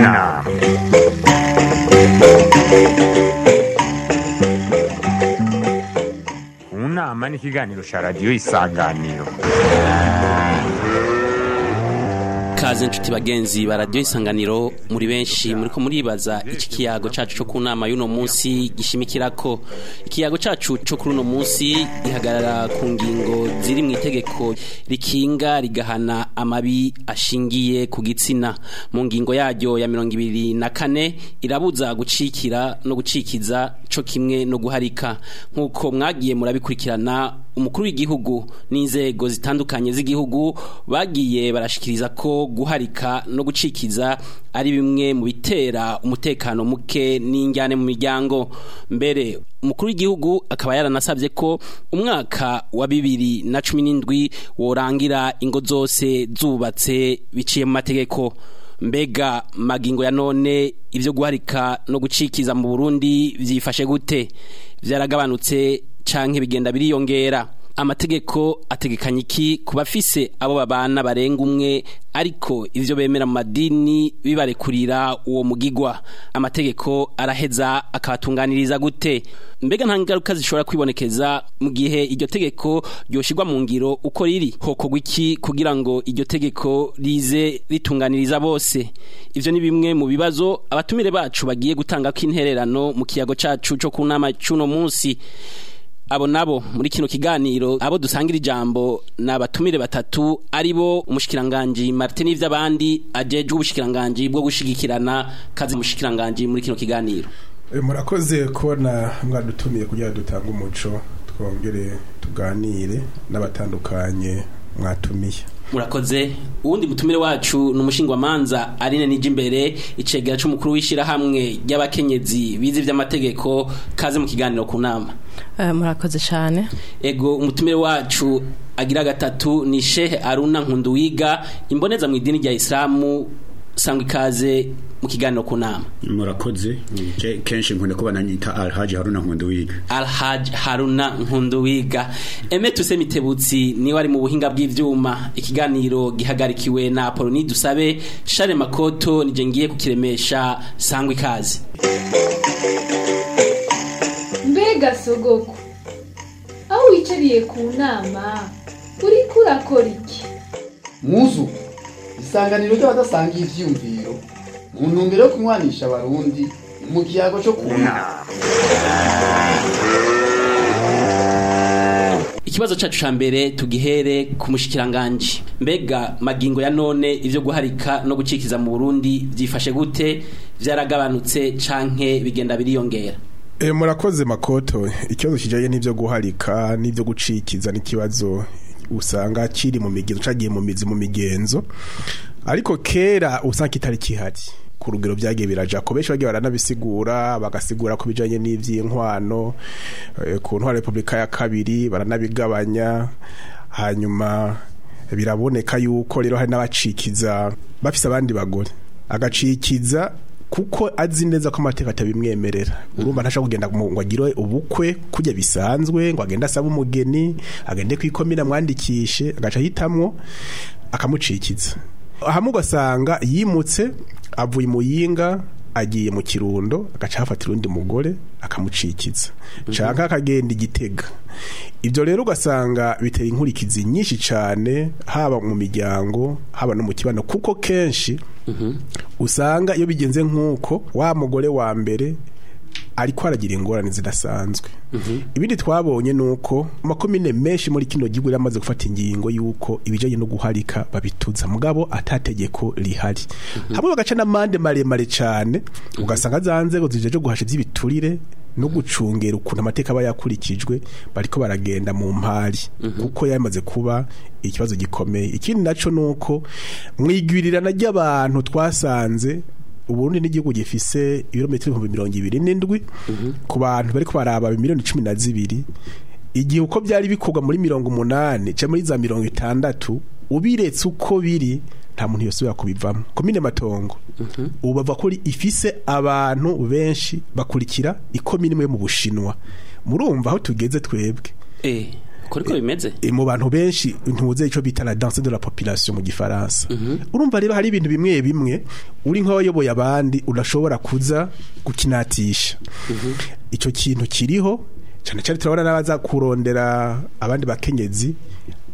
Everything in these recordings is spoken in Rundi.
Unama. Unama ni ikiganiro ca radiyo Isanganiro. Kaze nshuti bagenzi ba radiyo Isanganiro, muri benshi muriko muribaza iki kiyago cacu co ku nama y'uno munsi gishimikirako. Ikiyago cacu co kuri uno munsi gihagarara ku ngingo ziri mu itegeko rikinga rigahana amabi ashingiye ku gitsina. Mu ngingo yaryo ya 24 irabuza gucikira no gucikiza co kimwe no guharika. Nkuko mwagiye murabikurikirana, umukuru w'igihugu n'inzego zitandukanye z'igihugu bagiye barashikiriza ko guharika no gucikiza ari bimwe mu bitera umutekano muke n'injyane mu miryango. Mbere umukuru w'igihugu akaba yaranasabye ko umwaka wa 2017 worangira ingo zose zubatse biciye mu mategeko. Mbega magingo ya none ivyo guharika no gucikiza mu Burundi vyifashe gute? Vyaragabanutse canke bigenda biriyongera? Amategeko ategekanya iki ku bafise abo babana barenga umwe, ariko ivyo bemera mu madini bibarekurira uwo mugigwa? Amategeko araheza akabatunganiriza gute? Mbega nta ngaruka zishobora kwibonekeza mu gihe iryo tegeko ryoshirwa mu ngiro uko riri? Hokorwa iki kugira ngo iryo tegeko rize ritunganiriza bose? Ivyo ni bimwe mu bibazo abatumire bacu bagiye gutanga ko intererano mu kiyago cacu co ku nama c'uno munsi. Abo nabo muri kino kiganiro abo dusangira ijambo na batumire batatu, aribo umushikiranganje Martin Ivyabandi ajejwe ubushikiranganje bwo gushigikirana. Kazi umushikiranganje muri kino kiganiro. Murakoze kubona mwadutumiye kugira dutange umuco, twongere tuganire n'abatandukanye mwatumiye. Murakoze. Uwundi mutumire wacu ni umushingwamanza Aline Nijimbere, icegera c'umukuru w'ishirahamwe ry'abakenyezi bize ivy'amategeko. Kaze mu kiganiro ku nama. Murakoze cyane. Ego, umutumire wacu agira gatatu ni Sheikh Aruna Nkunduwiga, imboneza mu idini rya Islamu. Sangwa ikaze mu kiganiro ku nama. Murakoze. Kenshi nkunda kuba nanyita Alhaji Haruna Nkunduwiga. Alhaji Haruna Nkunduwiga. Eme tuse Mitebutsi niwe ari mu buhinga bw'ivyuma. Ikiganiro gihagarikiwe na Apoloni Dusabe. Share Makoto nije ngiye kukiremesha. Sangwa ikaze. Mbega sogoko, aho wicariye ku nama uriko urakora iki? Muzu isanganiro ry'abadasangiye ivyiyumviro mu ntumbero yo kunywanisha abarundi mu kiyago co kunama. Ikibazo cacu ca mbere tugihere ku mushikiranganje. Mbega magingo ya none ivyo guharika no gucikiza mu Burundi vyifashe gute? Vyaragabanutse canke bigenda biriyongera? Murakoze Makoto. Ikibazo kijanye n'ivyo guharika n'ivyo gucikiza n'ikibazo usanga kiri mu migenzo, cagiye mu mizi mu migenzo, ariko kera usanga kitari kihari ku rugero. Byagiye biraja ko benshi bagiye baranabisigura, bagasigura ko bijanye n'ivy'inkwano ku ntwaro Republika ya kabiri baranabigabanya. Hanyuma biraboneka yuko rero hari n'abacikiza bafise abandi bagore, agacikiza kuko azi neza ko amateka atabimwemerera. Urumva ntashaka kugenda ngo agire ubukwe kujya bisanzwe, ngo agende asaba umugeni, agende kwikomina mwandikishe, agaca ahitamwo akamucikiza. Hamwe ugasanga yimutse avuye Muyinga agiye mu Kirundo, agaca hafatira undi mugore akamucikiza, canke akagenda Igitega. Ibyo rero ugasanga bitera inkurikizi nyinshi cane, haba mu miryango haba no mu kibano, kuko kenshi usanga iyo bigenze nk'uko wa mugore wa mbere ariko aragira ingorane zidasanzwe. Ibindi twabonye nuko amakomine menshi muri kino gihugu yamaze gufata ingingo yuko ibijanye no guharika babituza, mugabo atategeko rihari. Hamwe bagaca n'amande maremare cane, ugasanga za nzego zijeje guhasha ivy'ibiturire no gucungera ukuntu amateka aba yakurikijwe bariko baragenda mu mpari, kuko yamaze kuba ikibazo gikomeye. Ikindi naco nuko mwigwirirana ry'abantu twasanze Uburundi n'igihugu gifise ibirometero 27,000 ku bantu bariko baraba miliyoni 12. Igihe uko byari bikorwa muri 80 ca muri za 60, ubiretse uko biri nta muntu yosubira kubivamo. Komine Matongo ubu bava kuri ifise abantu benshi bakurikira ikomine imwe mu Bushinwa. Murumva aho tugeze twebwe. Uko niko bimeze Mu bantu benshi ntuze ico bita la danse de la population mu gifaransa. Urumva rero hari ibintu bimwe bimwe uri nk'abayoboye abandi udashobora kuza gukinatisha. Ico kintu kiriho cyane cyane turabona n'abaza kurondera abandi bakenyezi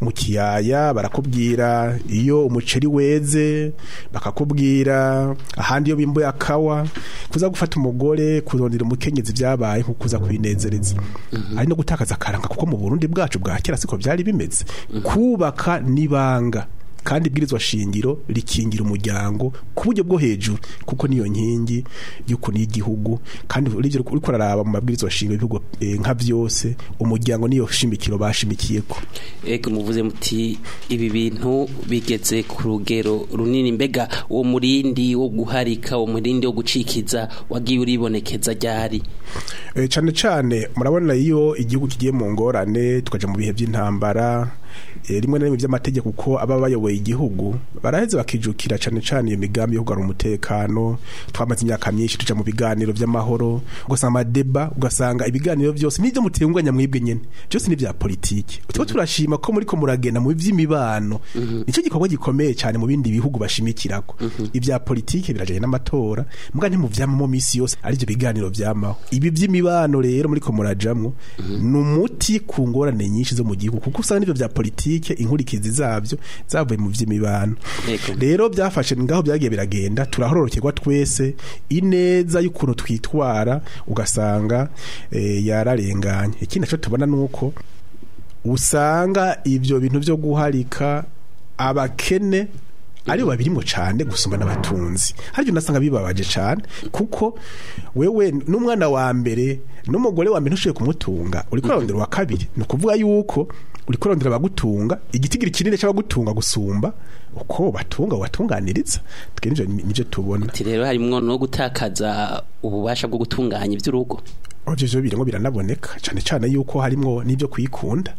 mu kiyaya, barakubwira iyo umuceri weze, bakakubwira ahandi iyo bimbuye akawa. Kuza gufata umugore kurondera umukenyezi byabaye nko kuza kwinezereza, ari no gutakaza akaranga, kuko mu Burundi bwacu bwa kera siko byari bimeze. Kubaka nibanga, kandi ibwirizwa shingiro rikingira umuryango ku buryo bwo hejuru, kuko niyo nkingi y'ukuri y'igihugu. Kandi urivyo uriko uraraba mu mabwirizwa shingiro y'ibihugu nka vyose, umuryango niyo shimikiro bashimikiyeko. Ego, muvuze muti ibi bintu bigeze ku rugero runini. Mbega uwo murindi wo guharika, uwo murindi wo gucikiza wagiye uribonekeza ryari? Cane cane murabona iyo igihugu kigiye mu ngorane, tukaja mu bihe by'intambara, rimwe na rimwe by'amategeko, uko aba bayoboye igihugu baraheze bakijukira cane cane iyo migambi yo kugarura umutekano. Twamaze imyaka myinshi tuja mu biganiro vy'amahoro, ugasanga amadeba, ugasanga ibiganiro vyose n'ivyo mutenganya mwebwe nyene byose ni vya politiki. Tuba turashima ko muriko muragenda mu vy'imibano, nico gikorwa gikomeye cane mu bindi bihugu bashimikirako. Ivya politiki birajanye n'amatora, mbwa ntimuvyamamo misi yose arivyo biganiro vyamaho. Ibi vy'imibano rero muriko murajamwo ni umuti ku ngorane nyinshi zo mu gihugu, kuko usanga n'ivyo vya politike inkurikizi zavyo zavuye mu vy'imibano. Rero byafashe ngaho byagiye biragenda, turahororokerwa twese ineza y'ukuntu twitwara, ugasanga yararenganye. Ikindi naco tubona nuko usanga ivyo bintu vyo guharika abakene aribo babirimo cane gusumba n'abatunzi. Haryo nasanga bibabaje cane, kuko wewe n'umwana wa mbere n'umugore wa mbere ntushoboye kumutunga, uriko urarondera uwa kabiri. Ni ukuvuga yuko uriko urarondera abagutunga, igitigiri kinini c'abagutunga gusumba uko batunga watunganiriza. Twe nivyo tubona. Ati rero harimwo no gutakaza ububasha bwo gutunganya ivy'urugo. Ivyo vyo birimwo biranaboneka cane cane yuko harimwo n'ivyo kwikunda.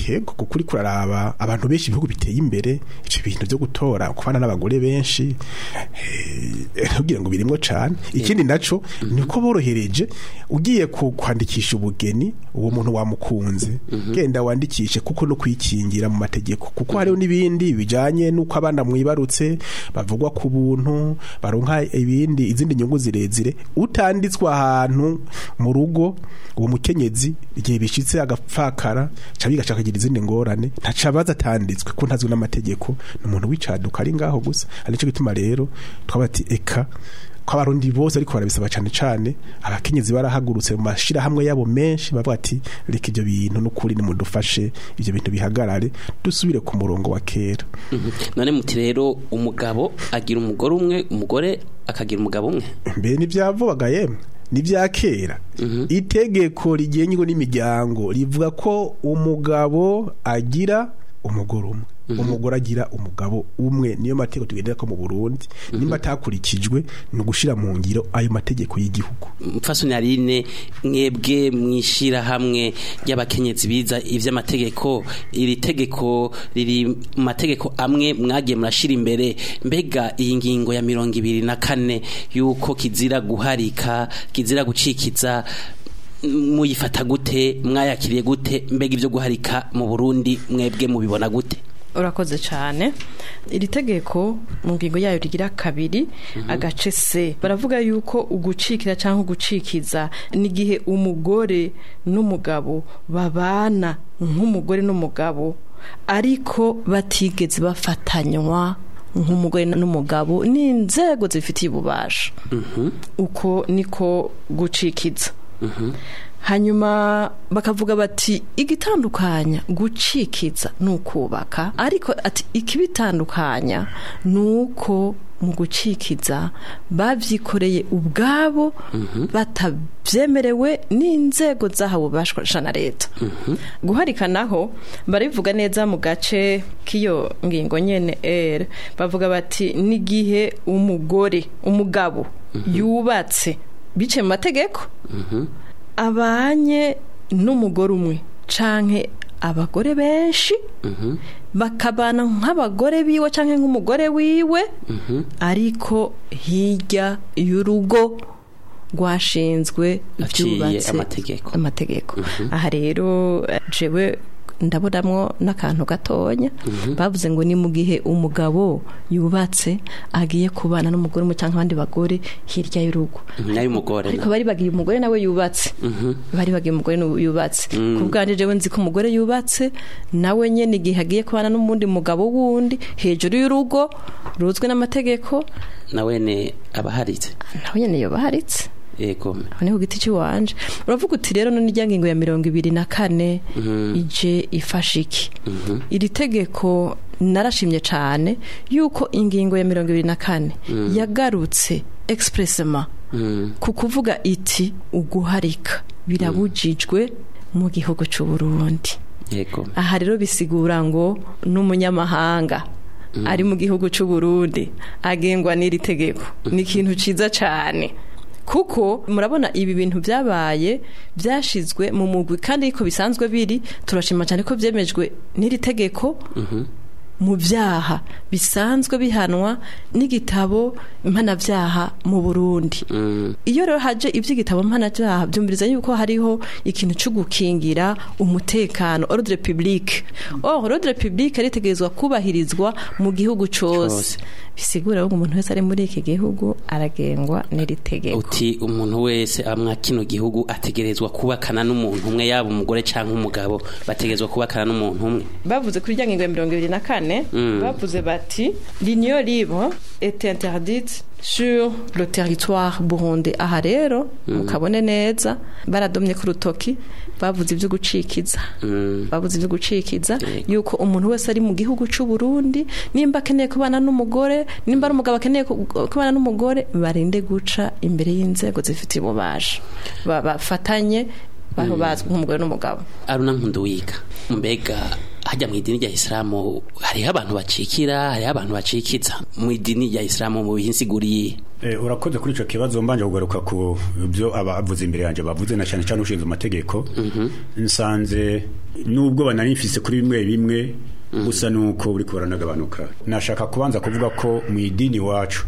Yego, kuko uriko uraraba abantu benshi ibihugu biteye imbere, ivyo bintu vyo gutora kubana n'abagore benshi kugira ngo birimwo cane. Ikindi naco ni uko borohereje, ugiye kwandikisha ubugeni uwo muntu wamukunze, genda wandikishe, kuko no kwikingira mu mategeko, kuko hariho n'ibindi bijanye n'uko abana mwibarutse bavugwa ku buntu, baronka ibindi izindi nyungu zirezire. Utanditswe ahantu mu rugo, uwo mukenyezi igihe bishitse agapfakara cabiga cakagira izindi ngorane, ntacabaza atanditswe ko ntazwi n'amategeko, ni umuntu wicaduka ari ngaho gusa. Arico gituma rero twabati eka ko abarundi bose ariko barabisaba, cane cane abakenyezi barahagurutse mu mashirahamwe yabo menshi, bavuga ati reka ivyo bintu n'ukuri nimudufashe ivyo bintu bihagarare, dusubire ku murongo wa kera. None muti rero umugabo agira umugore umwe, umugore akagira umugabo umwe? Mbe nivyavubaga yemwe, nivya kera. Itegeko rigenga n'imiryango rivuga ko umugabo agira umugore umwe, umugore agira umugabo umwe. Niyo mategeko tugendera ko mu Burundi. Nimba atakurikijwe ni ugushira mu ngiro ayo mategeko y'igihugu. Mfasoni Aline, mwebwe mwishira hamwe ry'abakenyezi biza ivy'amategeko, iri tegeko riri mu mategeko amwe mwagiye murashira imbere. Mbega iyi ngingo ya 24 yuko kizira guharika, kizira gucikiza, muyifata gute? Mwayakiriye gute? Mbega ivyo guharika mu Burundi mwebwe mubibona gute? Urakoze cyane. Iri tegeko mu ngingo yayo rigira 2 agace C baravuga yuko ugucikira cyangwa ugucikiza n'igihe umugore n'umugabo babana nk'umugore n'umugabo, ariko batigeze bafatanywa nk'umugore n'umugabo n'inzego zifitiye ububasha. Uko niko gucikiza. Hanyuma bakavuga bati igitandukanya gucikiza n'ukubaka, ariko ati ikibitandukanya nuko mu gucikiza bavyikoreye ubwabo batavyemerewe n'inzego zahawe ububasha na leta. Guharika naho barivuga neza mu gace k'iyo ngingo nyene R, bavuga bati n'igihe umugore umugabo yubatse bice mu mategeko abanye n'umugore umwe canke abagore benshi, bakabana nk'abagore biwe canke nk'umugore wiwe, ariko hirya y'urugo rwashinzwe Aciye byubatse amategeko. Aha rero jewe Ndabonamwo n'akantu gatonya. Bavuze ngo ni mu gihe umugabo yubatse agiye kubana n'umugore umwe cyangwa abandi bagore hirya y'urugo. Nayo umugore. Ariko bari bagiye umugore nawe yubatse. Bari bagiye umugore yubatse. Ku bwanje jewe nzi ko umugore yubatse nawe nyene igihe agiye kubana n'umundi mugabo wundi hejuru y'urugo ruzwe n'amategeko, nawe ne abaharitse. Nawe nyene yobaharitse. Yego. Aho ku giti cy'iwanje uravuga uti rero none irya ngingo ya 24 ije ifasha iki? Iri tegeko narashimye cyane yuko ingingo ya 24 yagarutse expressement ku kuvuga iti uguharika birabujijwe mu gihugu cy'u Burundi. Yego. Aha rero bisigura ngo n'umunyamahanga ari mu gihugu cy'u Burundi agengwa n'iri tegeko. Ni ikintu ciza cyane. Kuko murabona ibi bintu byabaye byashizwe mu mugwi kandi iko bisanzwe biri, turashima cyane ko byemejwe n'iri tegeko mu byaha bisanzwe bihanwa n'igitabo mpanabyaha mu Burundi. Iyo rero haje iby'igitabo mpanabyaha byumviriza yuko hariho ikintu cyo gukingira umutekano, ordre public. Or ordre public aritegerezwa kubahirizwa mu gihugu cose. Bisigura ko umuntu wese ari muri iki gihugu aragengwa n'iri tegeko. Uti umuntu wese amwa kino gihugu ategerezwa kubakana n'umuntu umwe, yaba umugore canke umugabo, bategerezwa kubakana n'umuntu umwe. Bavuze kuri rya ngingo ya 24, bavuze bati l'union libre est interdite sur le territoire burundais. Aha rero mukabone neza baradomye ku rutoki, bavuze ibyo gucikiza. Bavuze ibyo gucikiza yuko umuntu wese ari mu gihugu cy'u Burundi nimba akeneye kubana n'umugore, nimba ari umugabo akeneye kubana n'umugore, barinde guca imbere y'inzego zifite ububasha, bafatanye baho bazwi nk'umugore n'umugabo. Aruna Nkunduwiga, mbega hajya mu idini rya Islamu hariho abantu bacikira, hariho abantu bacikiza mu idini rya Islamu mu bihinsiguriye? Urakoze kuri ico kibazo. Mbanje kugaruka ku byo abavuze imbere yanje bavuze, na cyane cyane ushinzwe amategeko. Nsanze nubwo bananifise kuri bimwe bimwe gusa nuko buri kubaranagabanuka. Nashaka kubanza kuvuga ko mu idini wacu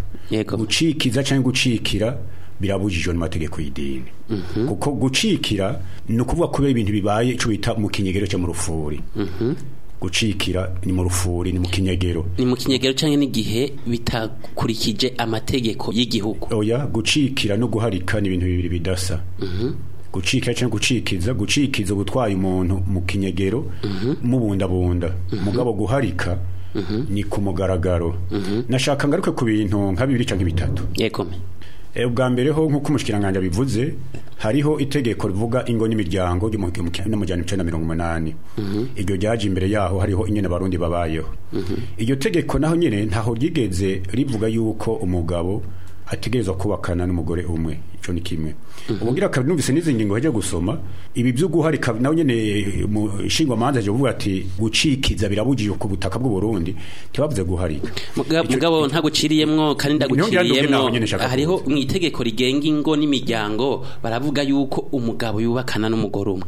gucikiza cyangwa gucikira birabujijwe n'amategeko y'idini. Kuko gucikira ni ukuvuga kubera ibintu bibaye ico bita mu kinyegero cyo mu rufuri. Gucikira ni mu rufuri, ni mu kinyegero. Ni mu kinyegero canke n'igihe bitakurikije amategeko y'igihugu. Oya, gucikira no guharika ni ibintu bibiri bidasa. Gucikira canke gucikiza, gucikiza gutwaye umuntu mu kinyegero mubundabunda. Mugabo guharika ni ku mugaragaro. Nashaka ngaruke ku bintu nka bibiri canke bitatu. Yego. Ubwa mbere ho nkuko umushikiranganje bivuze, hariho itegeko rivuga ingo n'imiryango ry'u1980. Iryo ryaje imbere yaho hariho inyene abarundi babayeho. Iryo tegeko naho nyene ntaho ryigeze rivuga yuko umugabo ategerezwa kubakana n'umugore umwe. Ico ni kimwe. Ubugira kabiri, numvise n'izi ngingo heje gusoma ibi byo guharika, naho nyene mu shingwa manza je kuvuga ati gucikiza birabujijwe ku butaka bw'u Burundi, tibavuze guharika. Mugabo ntaguciriyemwo kandi ndaguciriyemwo. Hariho mu itegeko rigenga ingo n'imiryango baravuga yuko umugabo yubakana n'umugore umwe.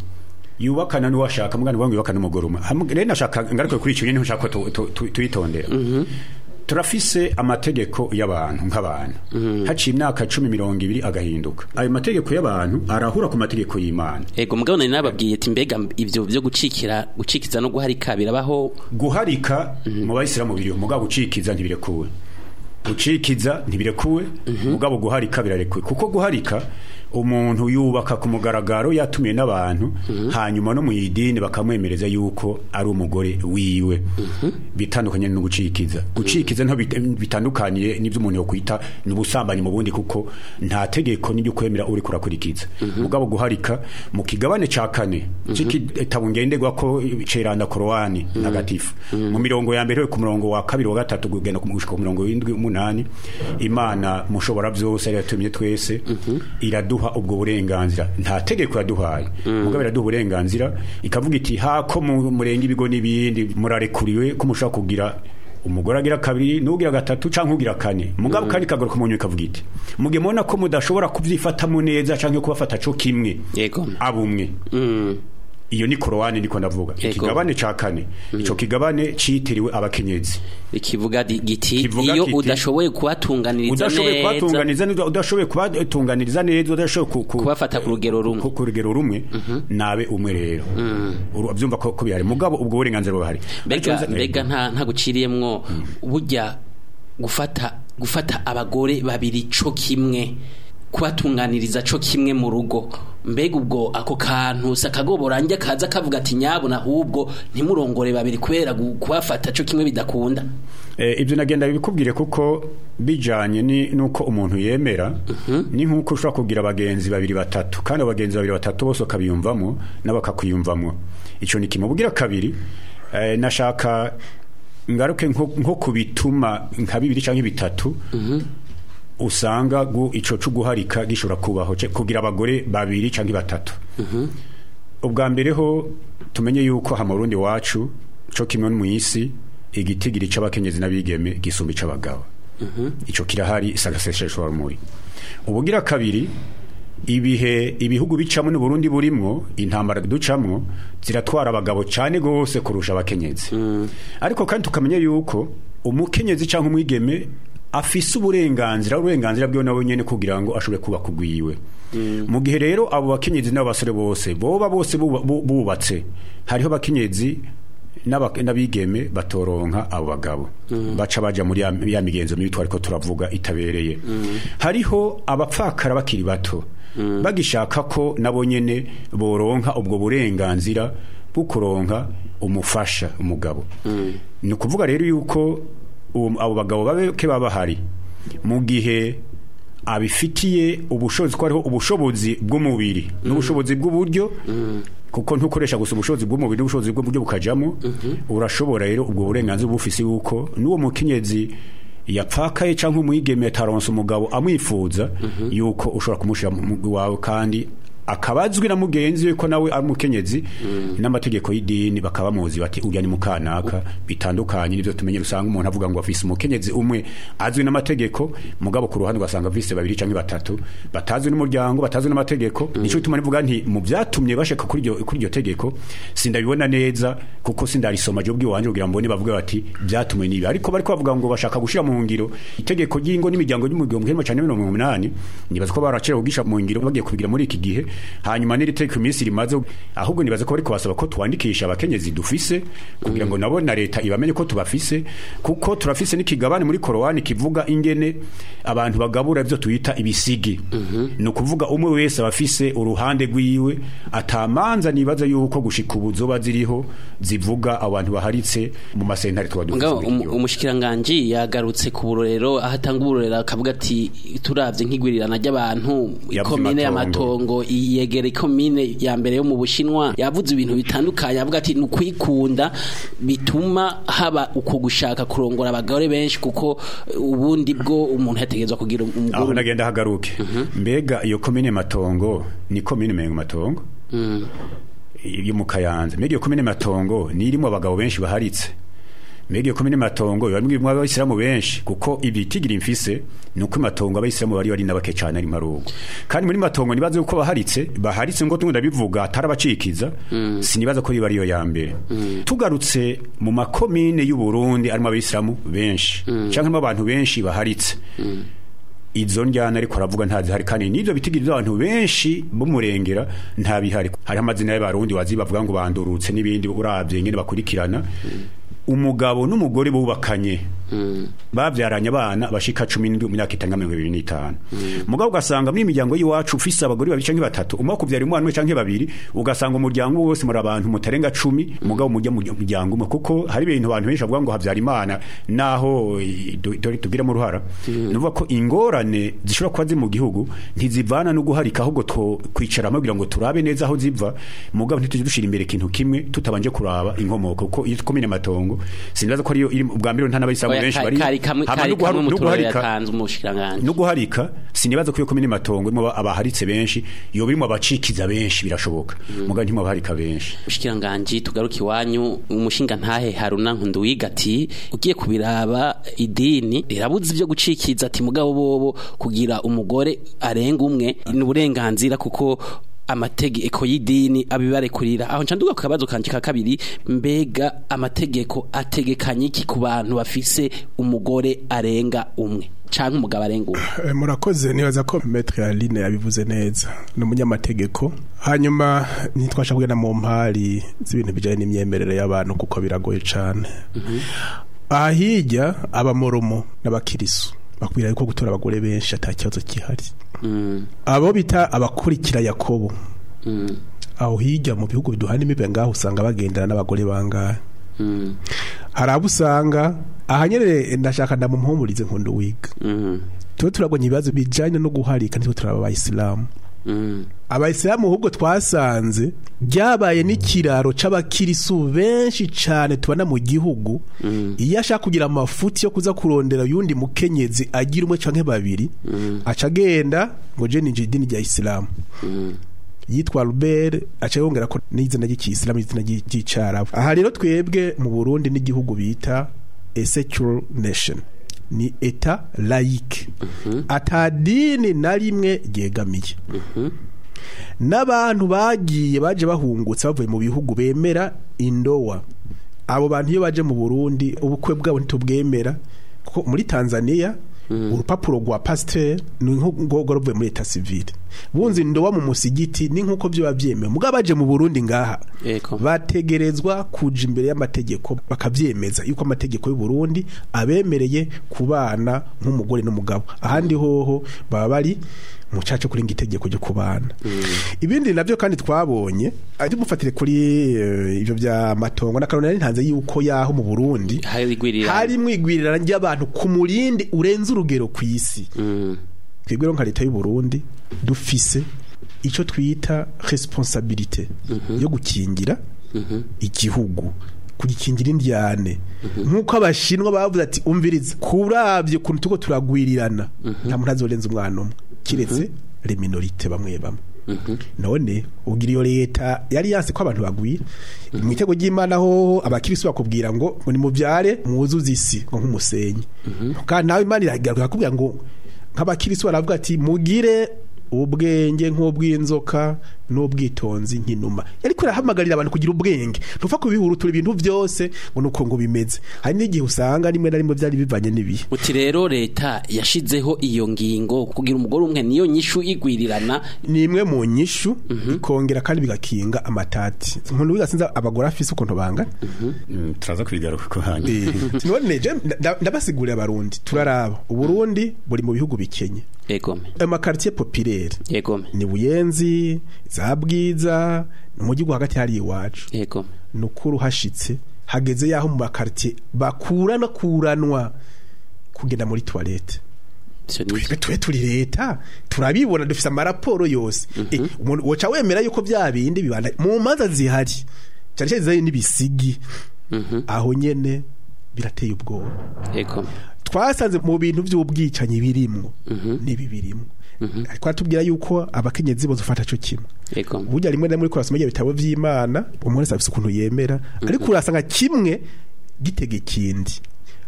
Yubakana n'uwashaka, mugani wangu yubakana n'umugore umwe. Rero nashaka ngaruke kuri ico nyene nshaka tuyitondera. Turafise amategeko y'abantu nk'abantu. Haciye imyaka 10 20 agahinduka. Ayo mategeko y'abantu arahura ku mategeko y'Imana. Ego, mugabo nari nababwiye ati mbega ivyo byo gucikira, gucikiza no guharika birabaho? Guharika mu bayisilamu biriho, mugabo gucikiza ntibirekuwe. Gucikiza ntibirekuwe, mugabo guharika birarekuwe. Kuko guharika umuntu yubaka ku mugaragaro yatumiye n'abantu, hanyuma no mu idini bakamwemereza yuko ari umugore wiwe. Bitandukanye no gucikiza. Gucikiza nto bitandukaniye n'ibyo umuntu yokwita n'ubusambanyi mu bundi, kuko nta tegeko n'ibyo kwemera uri kurakurikiza. Mugabo guharika mu kigabane ca kane c'igitabo ngenderwa ko ceranda Korowani ntagatifu, mu mirongo ya mbere ku murongo wa kabiri wa gatatu kugenda ku murongo w'indwi umunani, Imana mushobora byose yatumye twese iraduha ubwo burenganzira. Nta tegeko yaduhaye, mugabo iraduha uburenganzira ikavuga iti hako murenga ibigo n'ibindi murarekuriwe ko mushobora kugira umugore agira kabiri n'ugira gatatu canke ugira kane. Mugabo kandi kagaruka mu nyuma ikavuga iti muge mubona ko mudashobora kuvyifatamo neza canke kubafata co kimwe. Yego. Abumwe. Iyo ni Korowani niko ndavuga. Ikigabane ca kane, ico kigabane citiriwe abakenyezi. Ikivuga giti iyo udashoboye kubatunganiriza neza, udashoboye kubatunganiriza neza, udashoboye kubafata ku rugero rumwe, ku rugero rumwe, nabe umwe rero. Urabyumva ko bihari, mugabo ubwo burenganzira buhari. Mbega nta guciriyemwo burya gufata abagore babiri co kimwe, kubatunganiriza co kimwe mu rugo, mbega ubwo ako kantu sakagoborange kaza kavuga ati nyabona ahubwo ntimurongore babiri kubera kubafata co kimwe bidakunda. Ibyo nagenda bikubwire kuko bijanye ni nuko umuntu yemera. Ni nkuko ushobora kugira abagenzi babiri batatu, kandi abagenzi babiri batatu bose bakabiyumvamo n'abakakuyumvamo. Ico ni kimwe. Bugira kabiri, nashaka ngaruke nko kubituma nka bibiri canke bitatu usanga ico cyo guharika gishobora kubaho kugira abagore babiri canke batatu. Ubwa mbere ho tumenye yuko ha mu Burundi wacu co kimwe mu isi igitigiri c'abakenyezi n'abigeme gisumba ic'abagabo. Ico kirahari sagaseseshwa rumuri. Ubugira kabiri, ibihe ibihugu bicamo n'u Burundi burimwo intambara ducamwo ziratwara abagabo cyane gose kurusha abakenyezi. Ariko kandi tukamenya yuko umukenyezi canke umwigeme afise uburenganzira bwiwe nawe nyene kugira ngo ashobore kuba kugwiwe. Mu gihe rero abo bakenyezi n'abasore bose boba bose bubatse, hariho abakenyezi n'abigeme batoronka abo bagabo, baca baja muri ya migenzo mibi twariko turavuga itabereye. Hariho abapfakara bakiri bato bagishaka ko nabo nyene boronka ubwo burenganzira bwo kuronka umufasha umugabo. Ni ukuvuga rero yuko abo bagabo babeke babahari mu gihe abifitiye ubushobozi, ko hariho ubushobozi bw'umubiri n'ubushobozi bw'uburyo, kuko ntukoresha gusa ubushobozi bw'umubiri n'ubushobozi bw'uburyo bukajamo. Urashobora rero ubwo burenganzira bufise yuko n'uwo mukenyezi yapfakaye canke umwigeme ataronse umugabo amwifuza, yuko ushobora kumushira wawe kandi akabazwi na mugenzi we ko nawe ari umukenyezi, n'amategeko y'idini bakaba muzi bati urya ni mukanaka. Bitandukanye nivyo tumenye usanga umuntu avuga ngo afise umukenyezi umwe azwi n'amategeko, mugabo ku ruhande ugasanga afise babiri canke batatu batazwi n'umuryango, batazwi n'amategeko. Nico bituma nivuga nti mu byatumye bashaka kuri iryo tegeko sindabibona neza, kuko sindarisoma je ubwiwanje kugira mbone bavuga bati byatumwe nibi, ariko bariko bavuga ngo bashaka gushira mu ngiro itegeko ry'ingo n'imiryango y'umugihumbi kimwe magana cenda mirongo umunani. Nibaza ko baracera kugisha mu ngiro bagiye kubigira muri iki gihe. Hanyuma n'iri tegeko iminsi rimaze, ahubwo nibaza ko bariko basaba ko twandikisha abakenyezi dufise kugira ngo nabo na leta ibamenye ko tubafise, kuko turafise n'ikigabane muri Korowani kivuga ingene abantu bagabura ivyo tuyita ibisigi. Ni ukuvuga umwe wese abafise uruhande rwiwe, atamanza nibaza yuko gushika ubu zoba ziriho zivuga abantu baharitse mu masentare tuba dufise. Umushikiranganje yagarutse ku burorero, aho atanga uburorero akavuga ati turavye nk'igwirirana ry'abantu ikomine y'amatongo yegere komine ya mbere yo mu Bushinwa. Yavuze ibintu bitandukanye, avuga ati nukwikunda bituma haba uko gushaka kurongora abagore benshi, kuko ubundi bwo umuntu yategezwa kugira umugore. Aho nagenda hagaruke. Mbega iyo komine matongo ni komine mengo matongo yo mu Kayanza, mbega iyo komine matongo ni irimo abagabo benshi baharitse, mbega iyo komine matongo bamwe abayisilamu benshi, kuko ibitigira imfise nuko matongo abayisilamu bari nabake cyane ari marugo. Kandi muri matongo nibaze uko baharitse ngo tunda bivuga atarabacikiza, sinibaza ko bari yo ya mbere. Tugarutse mu makomine y'u Burundi arimo abayisilamu benshi canke abantu benshi baharitse, izo njyana ariko aravuga ntazihari, kandi nivyo bitigira abantu benshi bumurengera nta bihari. Hari amazina y'abarundi wazi bavuga ngo bandurutse n'ibindi, uravye ngene bakurikirana. Umugabo n'umugore bubakanye bavyaranye abana bashika 17 mu myaka itanga 25. Mugabo ugasanga muri imiryango y'iwacu ufise abagore babiri canke batatu, umwe kuvyara umwana umwe canke babiri, ugasanga umuryango wose muri abantu mutarenga 10, mugabo mujya mu muryango umwe, kuko hari ibintu abantu benshi bavuga ngo havyara Imana naho dore tugira mu ruhara. Nuvuga ko ingorane zishobora kuba ziri mu gihugu ntizivana no guharika, ahubwo kwicara kugira ngo turabe neza aho ziva, mugabo ntituje dushira imbere ikintu kimwe tutabanje kuraba inkomoko, kuko iyo komine matongo sinibaza ko ariyo iri ubwa mbere nta n'abayisilamu benshi bari no guharika. Sinibaza ko iyo komine matongo irimo abaharitse benshi, yo birimo abacikiza benshi birashoboka, mugabo ntimo abaharika benshi. Umushikiranganje tugaruke iwanyu, umushinga ntahe Haruna Nkunduwiga ati ugiye kubiraba idini rirabuze ibyo gucikiza, ati mugabo bobo kugira umugore arenga umwe ni uburenganzira, kuko amategeko y'idini abibarekurira. Aho nca nduga ku kabazo kanje ka kabiri, mbega amategeko ategekanye iki ku bantu bafise umugore arenga umwe canke umugabo arenga umwe? Murakoze, nibaza ko Maître Aline yabivuze neza, ni umunyamategeko. Hanyuma ntitwasha kugenda mu mpari z'ibintu bijanye n'imyemerere y'abantu kuko biragoye cane. Aha hirya abamoromo n'abakirisu bakwira yuko gutora abagore benshi ata kibazo kihari. Abo bita abakurikira Yakobo, aho hirya mu bihugu biduhana imibe ngaho usanga bagendana n'abagore bangahe. Hari abo usanga aha nyene, ndashaka ndamumpumurize nkunda wiga. Tuba turabonye ibibazo bijanye no guharika, nitwe turaba abayisilamu. Abayisilamu ahubwo twasanze ryabaye n'ikiraro c'abakirisu benshi cane tubana mu gihugu. Iyo ashaka kugira amafuti yo kuza kurondera yundi mukenyezi agira umwe canke babiri, aca agenda ngo je ninjira idini rya isilamu, yitwa Albert, aca yongera ko n'izina ry'ikisilamu, izina ry'icarabu. Aha rero twebwe mu Burundi n'igihugu bita a secular nation, ni état laïque, ata dini na rimwe ryegamiye. N'abantu bagiye baje bahungutse bavuye mu bihugu bemera indowa, abo bantu iyo baje mu Burundi ubukwe bwabo ntitubwemera, kuko muri Tanzania urupapuro rwa pasteur ni nko ruvuye muri état civil, bunze indowa mu musigiti ni nkuko byo byemewe. Mugabo baje mu Burundi ngaha bategerezwa kuja imbere y'amategeko bakavyemeza yuko amategeko y'u Burundi abemereye kubana nk'umugore n'umugabo. Ahandi hoho baba bari mu caco kuri itegeko ryo kubana. Ibindi navyo kandi twabonye ari mufatire kuri ivyo bya matongo na karone ntanze yuko yaho mu Burundi hari mwigwirirana ry'abantu ku murindi urenze urugero ku isi. Twebwe rero nka leta y'u Burundi dufise ico twita responsabilité yo gukingira igihugu, kugikingira indyane, nkuko abashinwa bavuze ati umviriza kuravye kuntu tuko turagwirirana, nta muntu azorenza umwana umwe kiretse les minorités bamwe bamwe. None ugira iyo leta yari yanse ko abantu bagwira mu itego ry'Imana, hoho abakirisu bakubwira ngo ni muvyare mwuzuze isi ngo nk'umusenyi, kandi nawe Imana iragaruka akubwira ngo nk'abakirisu baravuga ati mugire ubwenge nk'ubw'inzoka n'ubwitonzi nk'inuma. Ariko irahamagarira abantu kugira ubwenge, ntufa kubihurutura ibintu byose ngo nuko ngo bimeze. Hari n'igihe usanga rimwe na rimwe byari bivanye n'ibihe. Uti rero leta yashizeho iyo ngingo kugira umugore umwe niyo nyishu igwirirana, ni imwe mu nyishu, ikongera kandi bigakinga amatati. Nkundu wiga sinzi abagore afise ukuntu bangana. Turaza kubigaruka ko hanyuma. None je ndabasigurira abarundi, turaraba Uburundi buri mu bihugu bikenye. Ama quartier populaire ni Buyenzi, za Bwiza, mu gihugu hagati hari iwacu. Nukuru hashitse hageze yaho mu makartier bakurana kuranwa kugenda muri toilette. Twe turi leta turabibona, dufise amaraporo yose. Umuntu woca wemera yuko bya bindi bibanda mu manza zihari cyane cyane zari n'ibisigi, aho nyene birateye ubwoba. Twasanze mu bintu by'ubwicanyi birimwo n'ibi birimo, ariko atubwira yuko abakenyezi bo zufata cyo kimwe. Burya rimwe na rimwe kurasoma ibitabo vy'Imana, umuntu wese afise ukuntu yemera, ariko urasanga kimwe gitega ikindi.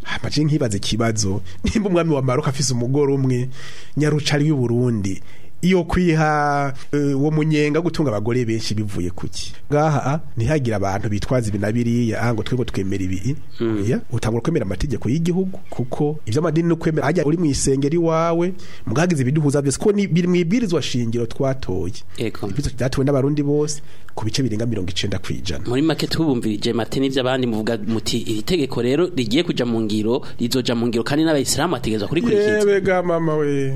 Hamaje nkibaze kibazo, nimba umwami wa Maroc afise umugore umwe, nyarucari w'i Burundi iyo kwiha uwo munyenga gutunga abagore benshi bivuye kuki? Ngaha ntihagira abantu bitwaza ibi na biriya ngo twebwe twemera ibi. Oya, utangura kwemera amategeko y'igihugu, kuko ivy'amadini no kwemera hajya uri mu isengero iwawe mugagize ibiduhuza byose, ko ni biri mwibwirizwa shingiro twatoye, ibwirizwa ryatowe n'abarundi bose ku bice birenga 90%. Muri make tubumvirije mate n'ivyo abandi muvuga muti iri tegeko rero rigiye kuja mu ngiro, rizoja mu ngiro kandi n'abayisilamu bategerezwa kurikurikiza. Yebega mama we,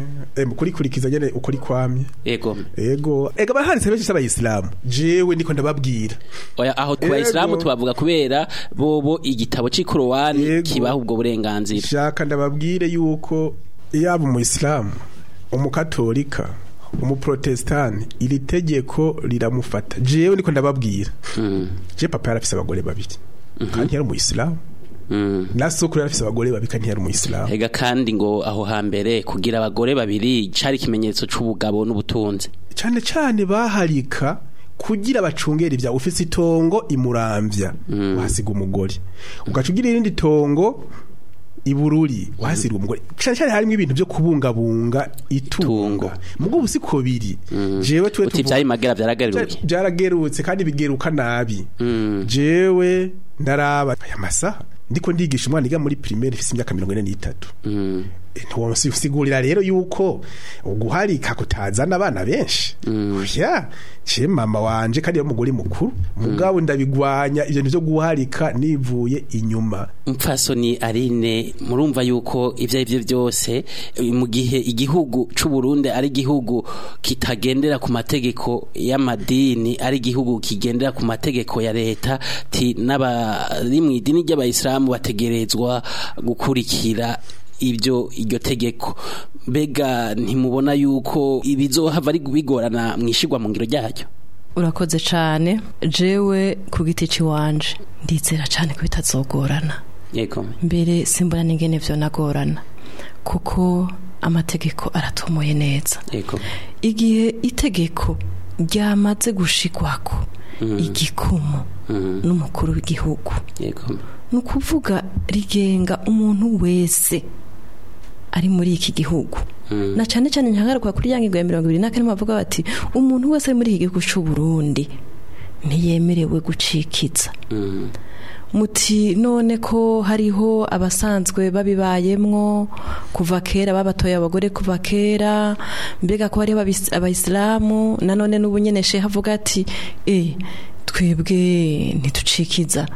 kurikurikiza nyene ukuri kwamye. Ego ega baharitse benshi s'abayisilamu, jewe ndiko ndababwira. Oya, aho ku bayisilamu tubavuga kubera bobo igitabo c'ikorowani kibaha ubwo burenganzira. Shaka ndababwire yuko yaba umuyisilamu, umukatolika, umuprotestani, iri tegeko riramufata. Jewe ndiko ndababwira, je papa yarafise abagore babiri kandi yari umuyisilamu, na sokuru yarafise abagore babiri kandi yari umuyisilamu. Ega kandi ngo aho hambere kugira abagore babiri cari ikimenyetso c'ubugabo n'ubutunzi. Cane cane baharika kugira bacungera ivya ufise itongo imuramvya, wahasiga umugore ugaca ugira irindi tongo Ibururi wahasira umugore cyane cyane harimo ibintu byo kubungabunga itungo mugo busiko biri jewe twe uti byayi magera byaragaruye byaragerutse kandi bigeruka nabi jewe ndaraba aya masaha ndiko ndigisha umwana iga muri primaire ifise imyaka 43 ntiwonsigurira rero yuko uguharika kutazana abana benshi oya je mama wanje kandi umugore mukuru mugabo ndabigwanya ivyo nivyo guharika nivuye inyuma. Mupfasoni Aline, murumva yuko ivyo ivyo byose mu gihe igihugu c'u Burundi ari igihugu kitagendera ku mategeko y'amadini, ari igihugu kigendera ku mategeko ya leta, ti n'abari mu idini ry'abayisilamu bategerezwa gukurikira ibyo iryo tegeko. Mbega ntimubona yuko ibizohava ari bigorana mwishigwa mu ngiro ryayo? Urakoze cyane. Jewe ku giti ciwanje ndizera cyane ko bitazogorana. Yego. Mbere simbona n'ingene vyo nagorana kuko amategeko aratomoye neza. Yego. Igihe itegeko ryamaze gushikwako igikumu n'umukuru w'igihugu. Yego. Nukuvuga rigenga umuntu wese ari muri iki gihugu. Na cyane cyane ntagaruka kuri yangingo ya 24 bavuga bati umuntu wese ari muri iki gihugu cy'u Burundi ntiyemerewe gucikiza. Muti none ko hariho abasanzwe babibayemwo kuva kera, babatoye abagore kuva kera, mbega ko hariho abayisilamu nanone n'ubu nyene shehe avuga ati twebwe ntitucikiza,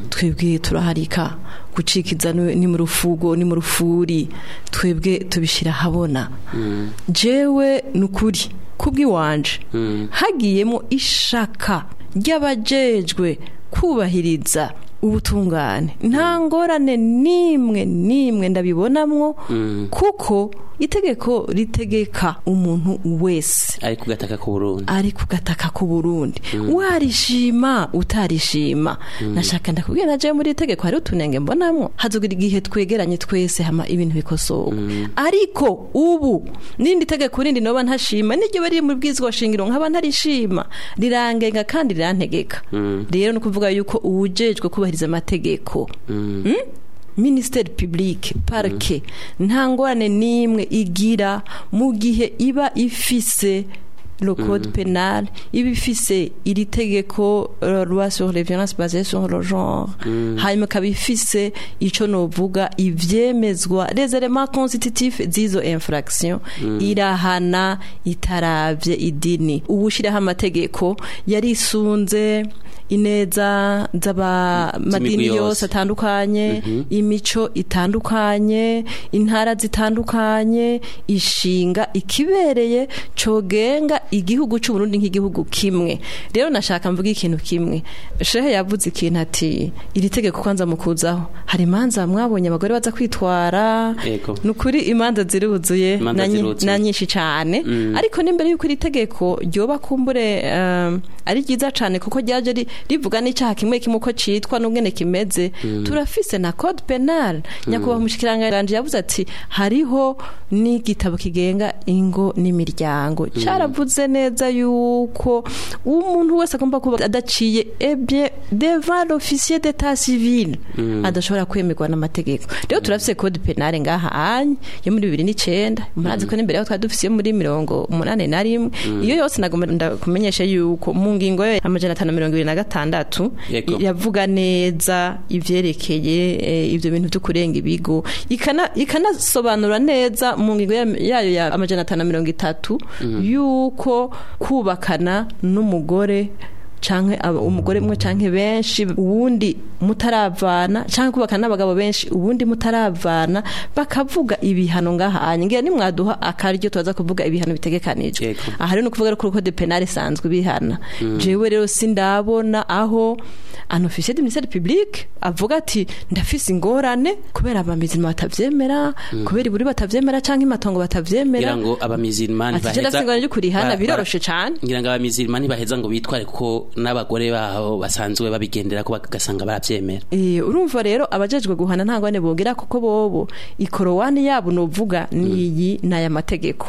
twebwe turaharika, gucikiza ni mu rufugo ni mu rufuri, twebwe tubishira habona. Jewe nukuri kubwiwanje hagiyemo ishaka ry'abajejwe kubahiriza ubutungane, nta ngorane nimwe nimwe ndabibonamwo, kuko itegeko ritegeka umuntu wese ari kugataka ku Burundi, ari kugataka ku Burundi, warishima utarishima. Nashaka ndakubwira naje muri itegeko hari utunenge mbonamwo, hazogira igihe twegeranye twese hama ibintu bikosoka. Ariko ubu nindi tegeko rindi noba ntashima niryo bari mu bwizwa shingiro nkaba ntarishima, rirangenga kandi rirantegeka. Rero no kuvuga yuko uwujejwe kubahiriza amategeko ministère public parquet nta ngorane nimwe igira mu gihe iba ifise le code pénal, iba ifise iri tegeko loi sur les violences basées sur le genre, hanyuma ikaba ifise ico novuga ivyemezwa les éléments constitutifs z'izo infraction, irahana itaravye idini. Ubushiraho amategeko yarisunze ineza z'abamadini yose atandukanye, imico itandukanye, intara zitandukanye, ishinga ikibereye cogenga igihugu c'u Burundi nk'igihugu kimwe. Rero nashaka mvuga ikintu kimwe. Shehe yavuze ikintu ati iri tegeko kwanza mukuzaho hari imanza mwabonye abagore baza kwitwara. Nukuri imanza ziruzuye na nyinshi cyane, ariko n'imbere yuko iri tegeko ryoba kumbure ari ryiza cyane kuko ryaje rivuga n'icyaha kimwe kimwe uko citwa n'ubwene kimeze. Turafise na code penal. Nyakubahwa umushikiranganje yavuze ati hariho n'igitabo kigenga ingo n'imiryango, caravuze neza yuko umuntu wese agomba kuba adaciye ebye devant l'officier d'état civil adashobora kwemerwa n'amategeko. Rero turafise code penal ngaha anye yo muri 2009, murazi ko n'imbere yaho twari dufise muri 81. Iyo yose nagomba ndakumenyesha yuko mu ngingo ya 526 yavuga neza ivyerekeye ivyo bintu byo kurenga ibigo, ikanasobanura neza mu ngingo yayo ya 530 yuko kubakana n'umugore canke umugore umwe canke benshi uwundi mutaravana, canke kubakana n'abagabo benshi uwundi mutaravana, bakavuga ibihano ngaha anye. Ngira nimwaduha akaryo tubaza kuvuga ibihano bitegekanijwe. Aha rero no kuvuga ko code penal isanzwe bihana. Jewe rero sindabona aho un officier du ministère public avuga ati ndafise ingorane kubera abamizirima batavyemera, kubera iburi batavyemera canke imatongo batavyemera. Ngira ngo abamizirima baheza biroroshe cane. Ngira ngo abamizirima baheza ngo bitware kuko ko n'abagore baho basanzwe babigendera ko bagasanga baravyemera. Urumva rero abajejwe guhana nta ngwane bogira, kuko bobo ikorowani yabo novuga niyi n'aya mategeko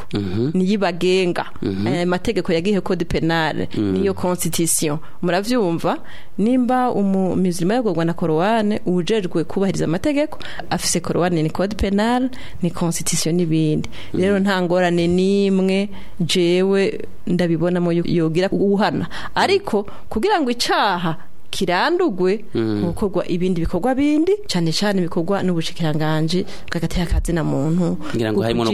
niyi bagenga. Aya mategeko yagiye code penal niyo constitution, muravyumva. Nimba umuzima yagogwa na korowani, ujejwe kubahiriza amategeko afise korowani ni code penal ni constitution n'ibindi. Rero nta ngorane nimwe jewe ndabibonamo yogira guhana, ariko kugira ngo icaha kirandugwe gukorwa ibindi bikorwa bindi cyane cyane bikorwa n'ubushikiranganje bw'agateka kazina muntu, ngira ngo harimo no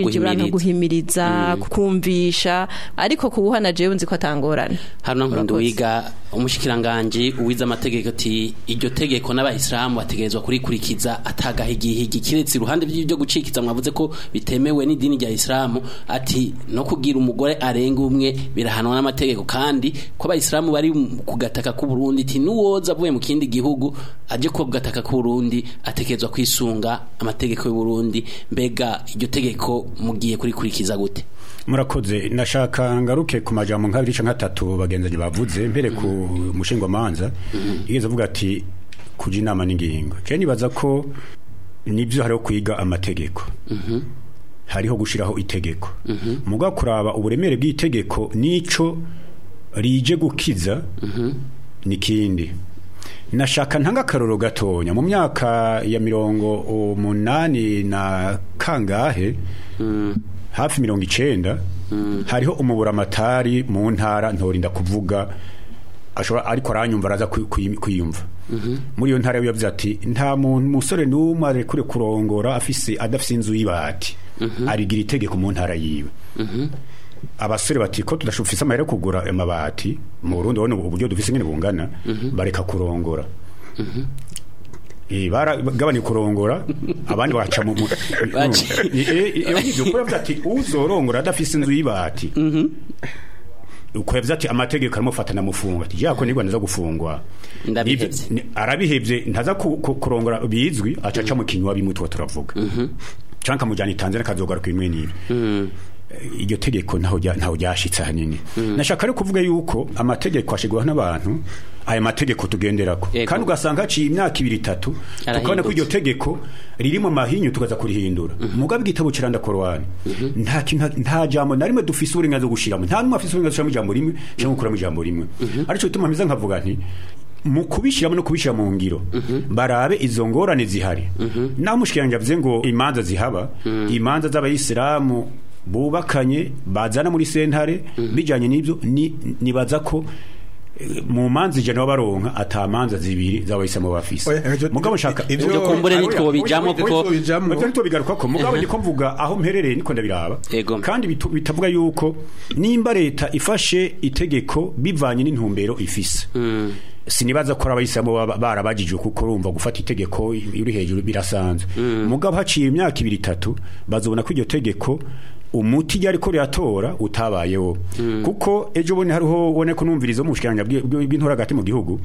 guhimiriza, kumvisha, ariko kubuhana jewe nzi ko atangorane. Hano nkundo wiga umushikiranganje uwiza amategeko ati iryo tegeko n'abayisilamu bategerezwa kurikurikiza atagahigihigi kiretse iruhande by'ibyo gucikiza mwavuze ko bitemewe n'idini rya Islamu, ati no kugira umugore arenga umwe birahanwa n'amategeko, kandi ko abayisilamu bari kugataka ku Burundi ati nuwoza avuye mu kindi gihugu aje ko gataka ku Burundi atekerezwa kwisunga amategeko y'u Burundi. Mbega iryo tegeko mugiye kurikurikiza gute? Murakoze. Nashaka ngaruke ku majambo nk'abiri canke atatu bagenzanye bavuze mbere ku mushingwa manza yigeze avuga ati kuja inama n'ingingo. Je nibaza ko nivyo hariho kwiga amategeko, hariho gushiraho itegeko, muga kuraba uburemere bw'itegeko nico rije gukiza nikindi. Nashaka ntanga akaroro gatonya mu myaka ya 80 na kangahe, hafi 90, hariho umuburamatari mu ntara ntorinda kuvuga ashobora ariko aranyumva araza kwiyumva. Muri iyo ntara yavuze ati nta muntu musore n'umwe arekure kurongora afise adafise inzu y'ibati, arigira itegeko mu ntara yiwe. Abasore bati ko tudashufise amahera kugura amabati mu Burundi, ubona uburyo dufise ngene bungana, bareka kurongora. Baragabanye kurongora abandi baca mu iyo nivyo ko yavuze ati uzorongora adafise inzu y'ibati, uko yavuze ati amategeko aramufata namufunga, ati yako nigwa ndaza gufungwa, arabihevye ntaza kurongora bizwi, acaca mu kinywa bimutwa turavuga canka mujana Tanzania kazogaruka imwe nibi. Iryo tegeko ntaho ryashitse hanini. Nashaka rero kuvuga yuko amategeko ashigwaho n'abantu, aya mategeko tugenderako, kandi ugasanga haciye imyaka 2 3 tukabona ko iryo tegeko riri mu mahinyu tukaza kurihindura. Mugabe igitabo kiranda Korowani nta kintu, nta jambo na rimwe dufise uburenganzira bwo gushiramo, nta numwe afise uburenganzira bwo gushiramo ijambo rimwe cyangwa gukuramo ijambo rimwe. Arico bituma mpiza nkavuga nti mu kubishiramo no kubishira mu ngiro barabe izo ngorane zihari. Naho mushikiranje avuze ngo imanza zihaba, imanza z'abayisilamu bubakanye bazana muri sentare bijanye n'ibyo, nibaza ko mu manza ijana baronka atamanza zibiri z'abayisilamu bafise. Mugabo nshaka ibyo kumbure nitwo bijamo kuko ibyo nitwo bigaruka ko mugabo ndiko mvuga aho mperereye niko ndabiraba, kandi bitavuga yuko nimba leta ifashe itegeko bivanye n'intumbero ifise. Sinibaza ko abayisilamu barabajijwe kuko urumva gufata itegeko uri hejuru birasanzwe. Mugabo haciye imyaka 2 3 bazobona ko iryo tegeko umuti ryari ko ryatora utabayeho. Kuko ejo bone hariho ubone ko numvirizo mu bushikiranga bw'intora hagati mu gihugu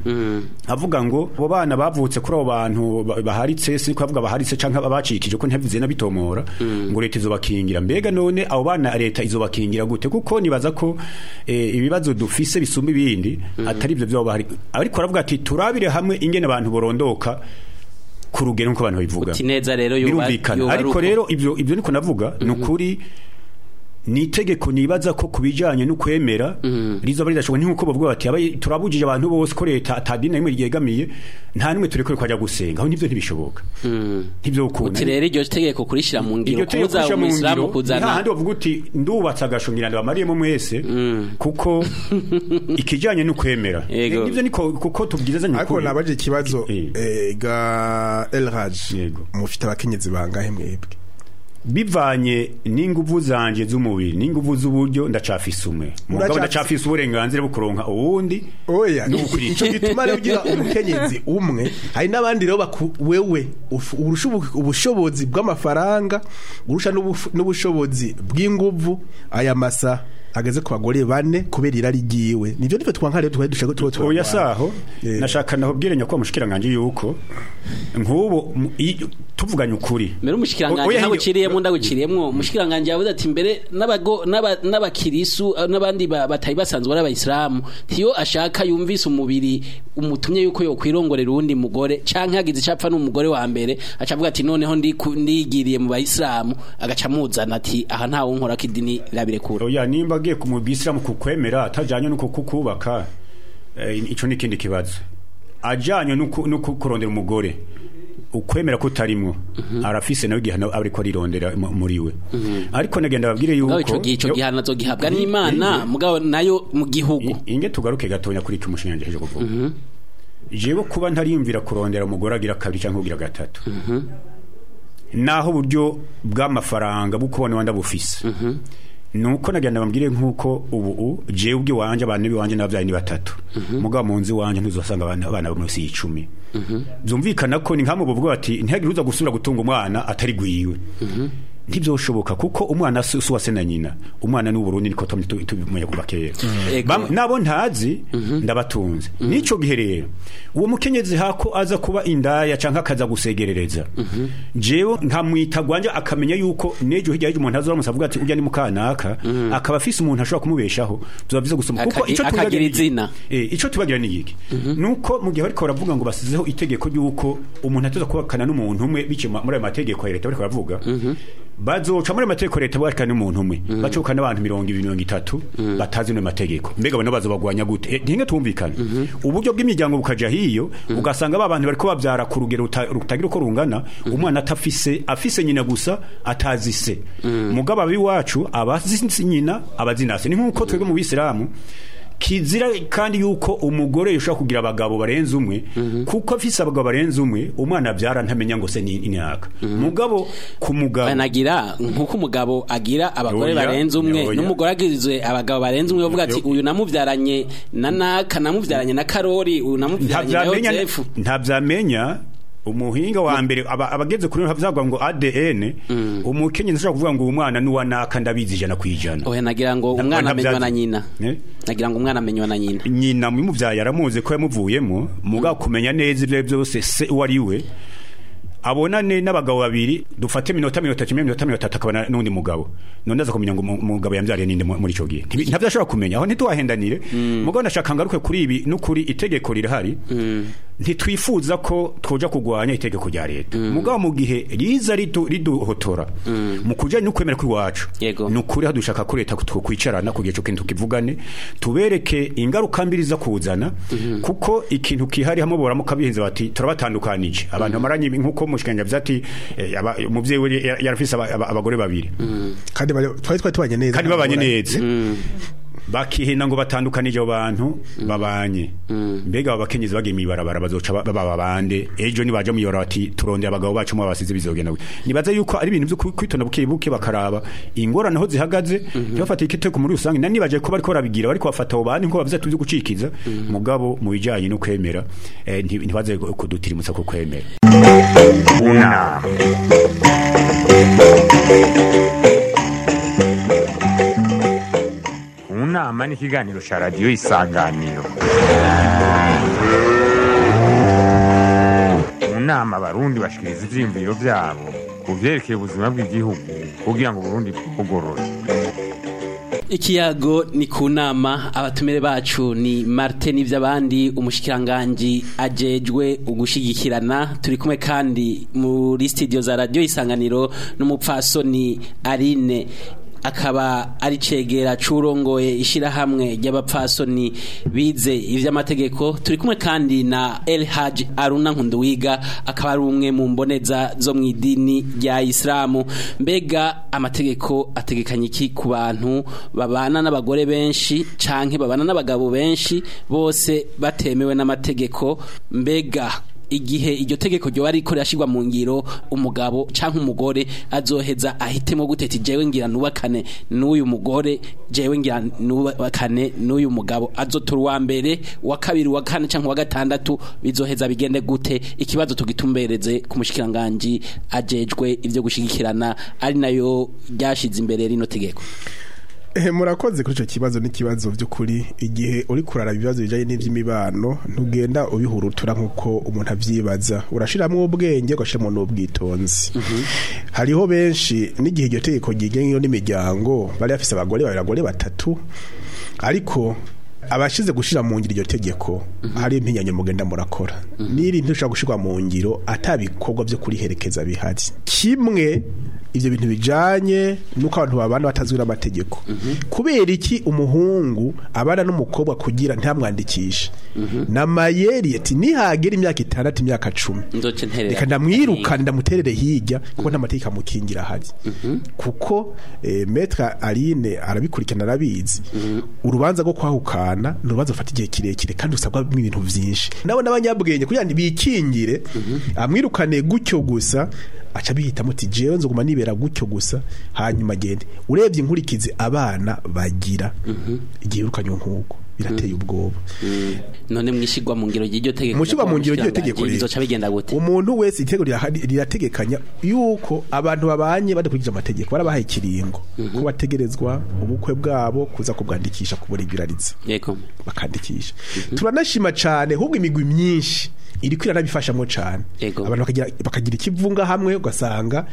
avuga ngo abo bana bavutse kuri abo bantu baharitse, si ko avuga baharitse canke abacikije ko ntabivuze nabitomora, ngo leta izobakingira. Mbega none abo bana leta izobakingira gute? Kuko nibaza ko ibibazo dufise bisumba ibindi atari ivyo byo bahari. Ariko aravuga ati turabire hamwe ingene abantu borondoka ku rugero nko abantu bivuga. Uti neza rero yuba. Ariko rero ivyo niko navuga nukuri ni itegeko nibaza ko kubijanye no kwemera rizoba ridashoboka, nkuko bavuga bati turabujije abantu bose ko leta atadini rimwe ryegamiye nta nimwe turekure kwajya gusenga, aho nivyo ntibishoboka. Ntivyo ukunda. Uti rero iryo tegeko kurishira mu ngiro kuza umuislamu kuzana nta handi bavuga uti ndubatse agashongira ndabamariyemo mwese, kuko ikijanye no kwemera nivyo niko kuko tubwizazanye ukuri. Ariko nabaje ikibazo ga Elraj, mufite abakenyezi bangahe mwebwe? Bivanye n'inguvu zanje z'umubiri n'inguvu z'uburyo ndacafise umwe, mugabo ndacafise uburenganzira bwo kuronka uwundi. Oya, ico gituma rero ugira umukenyezi umwe, hari n'abandi rero wewe urusha ubushobozi bw'amafaranga, urusha n'ubushobozi bw'inguvu aya masa. ageze ku bagore bane kubera irari ryiwe. Nivyo nivyo twanka rero twari dushaka tuba Oya saho nashaka nahubwire nyakwa mushikiranganje yuko nk'ubu tuvuganye ukuri mbere umushikiranganje ntabwo uciriyemo ndaguciriyemwo umushikiranganje yavuze ati mbere n'abago n'abakirisu n'abandi batari basanzwe ari abayisilamu tiyo ashaka yumvise umubiri umutumye yuko yokwirongorera uwundi mugore canke hagize icapfa n'umugore wa mbere aca avuga ati noneho ndigiriye mu bayisilamu agaca amuzana ati aha ntawe unkora ko idini rirabirekura. Oya nimba agiye ku mubisilamu kukwemera atajanye nuko kukubaka ico ni ikindi kibazo. Ajanye nuko kurondera umugore ukwemera kutarimwo arafise nawe igihano ariko arirondera muri we. Ariko nagenda babwire yuko ico gihano azogihabwa n'Imana mugabo nayo mu gihugu. Inge tugaruke gatonya kuri cyo mushinga nje kuvuga. Jewe kuba ntariyumvira kurondera umugore agira kabiri canke kugira gatatu. Naho uburyo bw'amafaranga bukubona wanda bufise. Nuko nagenda bambwire nkuko ubu jewe ubwi wanje abantu biwanje n'abavyayi ni batatu. Mugabo mu nzu wanje ntuzosanga abana bo munsi y'icumi. Byumvikana ko ni nkamwe buvuga bati ntihagire uza gusubira gutunga umwana atari gwiwe. Ntibyoshoboka kuko umwana si uwase na nyina, umwana ni Burundi niko tubimenya kuva kera. Nabo ntazi ndabatunze. Nico gihe rero uwo mukenyezi hako aza kuba indaya canke akaza gusegerereza, jewe nkamwita gwanje akamenya yuko nejo hirya y'umuntu azoramusa avuga ati urya ni mukanaka, akaba afise umuntu ashobora kumubeshaho tubavize gusoma kuko ico tubagira izina ico tubagira ni iki nuko mu gihe bariko baravuga ngo basizeho itegeko ryuko umuntu atoza kubakana n'umuntu umwe bice muri ayo mategeko ya leta bariko baravuga bazoca muri amategeko leta bwakana n'umuntu umwe bacoka n'abantu 20 30 batazi no mategeko mbega bano bazobagwanya gute ntinge tumvikana uburyo bw'imiryango bukaja hiyo ugasanga ba bantu bariko bavyara ku rugero rutagira uko rungana umwana atafise afise nyina gusa atazi se mugabo abiwacu abazi nyina abazinase ni nkuko twebwe mu Bisilamu kizira kandi yuko umugore yoshobora kugira abagabo barenze umwe kuko afise abagabo barenze umwe umwana abyara ntamenya ngo se ni inaka mugabo ku mugabo banagira nkuko umugabo agira abagore barenze umwe n'umugore agizwe abagabo barenze umwe bavuga ati uyu namuvyaranye na naka namuvyaranye na Karori uyu namuvyaranye na Yozefu ntavyamenya umuhinga wa mbere abageze kuri havyagwa ngo ADN umukenyezi ashobora kuvuga ngo umwana ni naka ndabizi 100%. Oya nagira ngo umwana amenywa na nyina. Nagira ngo umwana amenywa na nyina. Nyina mumuvyaye aramuzi ko yamuvuyemo muga kumenya neza ivyo byose se wari we abonane n'abagabo babiri dufate minota 3 minota 3 akabona n'undi mugabo none aza kumenya ngo umugabo yambyariye ninde muri ico gihe ntavyashobora kumenya aho ntitwahendanire mugabo ndashaka ngaruke kuri ibi n'ukuri itegeko rirahari ntitwifuza ko twoja kugwanya itegeko rya leta mugabo mu gihe riza riduhotora mu kujanye n'ukwemera kw'iwacu n'ukuri hadushaka ko leta twokwicarana kugira ico kintu tukivugane tubereke ingaruka mbiri za kuzana kuko ikintu kihari hamwe boramuka bihenze bati turabatandukanije abantu bamaranye nkuko mushikanja vyati umuvyeyi we yarafise abagore babiri kandi twari tubanye neza kandi babanye neza bakihina ngo batandukanije abantu babanye mbega abakenyezi bagiye mibarabara bazoca baba bande ejo nibaje muyora bati turondera abagabo bacu mu basize bizogenda nibaza yuko ari ibintu byo kwitonda buke buke bakaraba ingorane aho zihagaze ntibafate ikiteko muri rusange nani baje ko bariko barabigira bariko bafata abo bandi nko bavuze tubyo gucikiza mugabo mu bijanye no kwemera ntibaze kudutirimutsa ko kwemera. Una Unama ni ikiganiro ca radiyo Isanganiro. Mu nama abarundi bashikiriza ivyiyumviro vyabo ku vyerekeye ubuzima bw'igihugu kugira ngo Burundi bwugorore. Ikiyago ni ku nama abatumire bacu ni Martin Nivyabandi umushikiranganji ajejwe ugushigikirana turi kumwe kandi muri studio za radio Isanganiro n'umupfasoni Aline akaba ari cegera curongoye ishirahamwe ry'abapfasoni bize ivy'amategeko turi kumwe kandi na El Haj Aruna Nkunduwiga akaba ari umwe mu mboneza zo mu idini rya Islamu. Mbega amategeko ategekanye iki ku bantu babana n'abagore benshi canke babana n'abagabo benshi bose batemewe n'amategeko? Mbega igihe iryo tegeko ryo ariko rirashirwa mu ngiro umugabo canke umugore azoheza ahitemo guteta jewe ngira nubakane n'uyu mugore jewe ngira nubakane n'uyu mugabo azotora uwa mbere wa kabiri wa kane canke wa gatandatu bizoheza bigende gute? Ikibazo tugitumbereze ku mushikiranganji ajejwe ivyo gushigikirana ari nayo ryashize imbere rino tegeko. Murakoze kuri ico kibazo. N'ikibazo by'ukuri, igihe uri kurara ibibazo bijanye n'ivy'imibano, ntugenda ubihurutura nkuko umuntu avyibaza. Urashiramwo ubwenge, ugashiramwo n'ubwitonzi. Hariho benshi n'igihe iryo tegeko ryigenga n'imiryango bari bafise abagore babiri, abagore batatu, ariko abashize gushira mu ngiro iryo tegeko, hari impinyanyo mugenda murakora n'iri ntushobora gushirwa mu ngiro atabikorwa byo kuriherekeza bihari. Kimwe, ivyo bintu bijanye nuko abantu babana batazwi n'amategeko. Kubera iki umuhungu abana n'umukobwa kugira ntamwandikishe namayeri ati nihagera imyaka 6, imyaka 10, Nzoce nterera. Reka ndamwirukane, ndamuterere hirya, kuko nta mategeko amukingira ahari. Kuko Maître Aline arabikurikirana, arabizi. Urubanza rwo kwahukana ni urubanza rufata igihe kirekire kandi usabwa ibintu vyinshi. Nabo n'abanyabwenge kugira ngo bikingire, amwirukane gutyo gusa, aca bihitamo ati jewe nzoguma nibera gutyo gusa, hanyuma agende. Urebye inkurikizi abana bagira igihe wirukanywe nk'uko, birateye ubwoba. None mwishigwa mu ngiro ry'iryo tegeko, Mushirwa mu ngiro ry'iryo tegeko rero. bizoca bigenda gute? Umuntu wese, itegeko rirategekanya yuko abantu babanye badakurikije amategeko, barabahaye ikiringo ko bategerezwa ubukwe bwabo kuza kubwandikisha, kuburegulariza, bakandikisha. Turanashima cane ahubwo imigwi myinshi iriko iranabifashamwo cane. Abantu bakagira ikivunga hamwe, ugasanga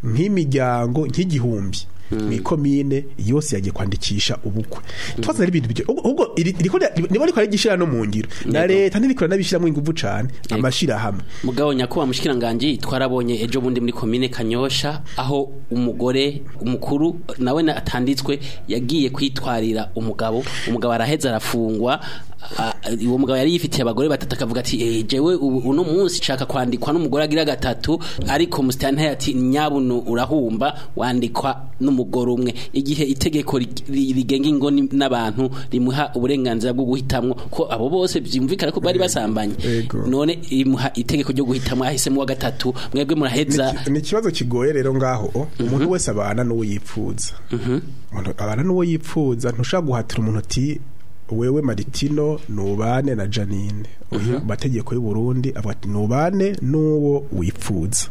nk'imiryango nk'igihumbi mw'ikomine yose yagiye kwandikisha ubukwe. Twaza ari ibintu byo ubwo niba riko arigishira no mu ngiro na leta ntiriko iranabishiramwo inguvu cane, amashirahamwe. Mugabo nyakubahwa mushikiranganji, twarabonye ejo bundi muri komine Kanyosha aho umugore umukuru nawe atanditswe yagiye kwitwarira umugabo, umugabo araheza arafungwa. Uwo mugabo yari yifitiye abagore batatu, akavuga ati jewe uno munsi nshaka kwandikwa n'umugore agira gatatu, ariko musitanteri ati nyabunu urahumba, wandikwa n'umugore umwe. Igihe itegeko rigenga ingo n'abantu rimuha uburenganzira bwo guhitamwo, ko abo bose byumvikana ko bari basambanye, none rimuha itegeko ryo guhitamwo, ahisemo wa gatatu, mwebwe muraheza. Ni ikibazo kigoye rero ngaho. Umuntu wese abana n'uwo yipfuza. Umuntu abana n'uwo yipfuza. Ntushobora guhatira umuntu ati wewe Maritino nubane na Janine. Oya, amategeko y'u Burundi avuga ati nubane n'uwo wipfuza.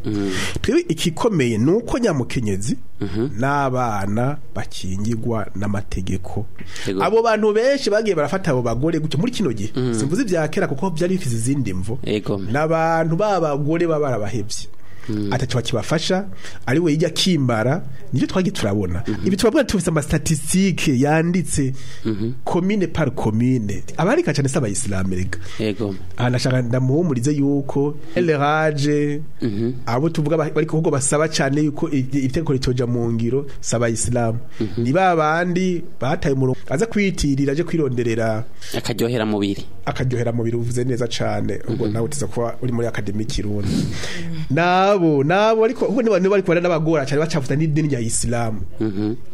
Twebwe ikikomeye nuko nyamukenyezi n'abana bakingirwa n'amategeko. Abo bantu benshi bagiye barafata abo bagore gutyo muri kino gihe, simvuze ibya kera kuko byari bifise izindi mvo, n'abantu b'abagore baba barabahevye, ataco bakibafasha, ari we yijya kimbara. Nivyo twagiye turabona. Ibi turabona, tufise ama statistiques yanditse commune par commune. Abarika cyane se abayisilamu rega. Aha nashaka ndamuhumurize yuko LRage abo tuvuga bari kuvuga basaba cyane yuko itegeko ritoja mu ngiro saba abayisilamu, ni ba bandi bataye umurongo, aza kwitirira aje kwironderera akaryohera mubiri. Akaryohera mubiri, uvuze neza cane. Ubwo nawe utiza kuba uri muri académie Kirundi. Nabo ariko ubwo niba ariko n'abagora cyane bacavuta n'idini rya Islam,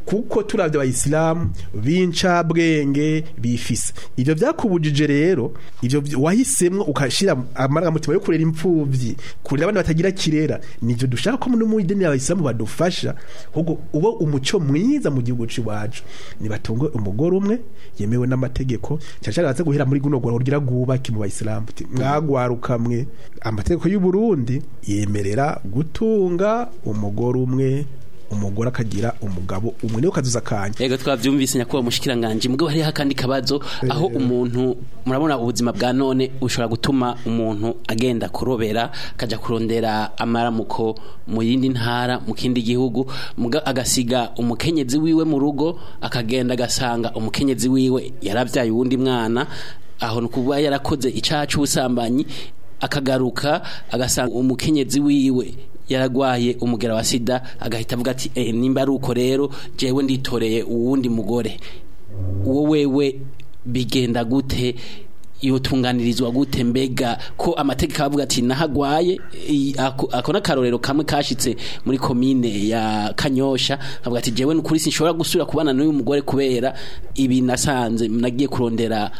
kuko turavye abayisilamu b'incabwenge bifise ivyo vyakubujije rero, ivyo wahisemwo ukashira amarangamutima yo kurera impfuvyi, kurera abana batagira kirera. Nivyo dushaka ko no mu idini y'abayisilamu badufasha, ahubwo ubo umuco mwiza mu gihugu c'iwacu nibatunge umugore umwe yemewe n'amategeko, cyane cyane baze guhera muri guno gwaro rugira rwubake mu bayisilamu. Uti, mwagwaruka mwe, amategeko y'u Burundi yemerera gutunga umugore umwe, umugore akagira umugabo umwe, niyo kazuza kanya. Yego, twavyumvise nyakubahwa mushikiranganje. Mugabo hariho akandi kabazo aho umuntu, murabona ubuzima bwa none ushobora gutuma umuntu agenda kurobera, akaja kurondera amaramuko mu yindi ntara, mu kindi gihugu, agasiga umukenyezi wiwe mu rugo, akagenda agasanga umukenyezi wiwe yaravyaye uwundi mwana, aho nukuba yarakoze icaha c'ubusambanyi, akagaruka agasanga umukenyezi wiwe yaragwaye umugera wa sida, agahita avuga ati nimba ari uko rero jewe nditoreye uwundi mugore. Uwo wewe bigenda gute? Yotunganirizwa gute? Mbega ko amategeko avuga ati nahagwaye ako n'akarorero kamwe kashitse muri komine ya Kanyosha, avuga ati jewe nukuri sinshobora gusubira kubana n'uyu mugore kubera ibi nasanze nagiye kurondera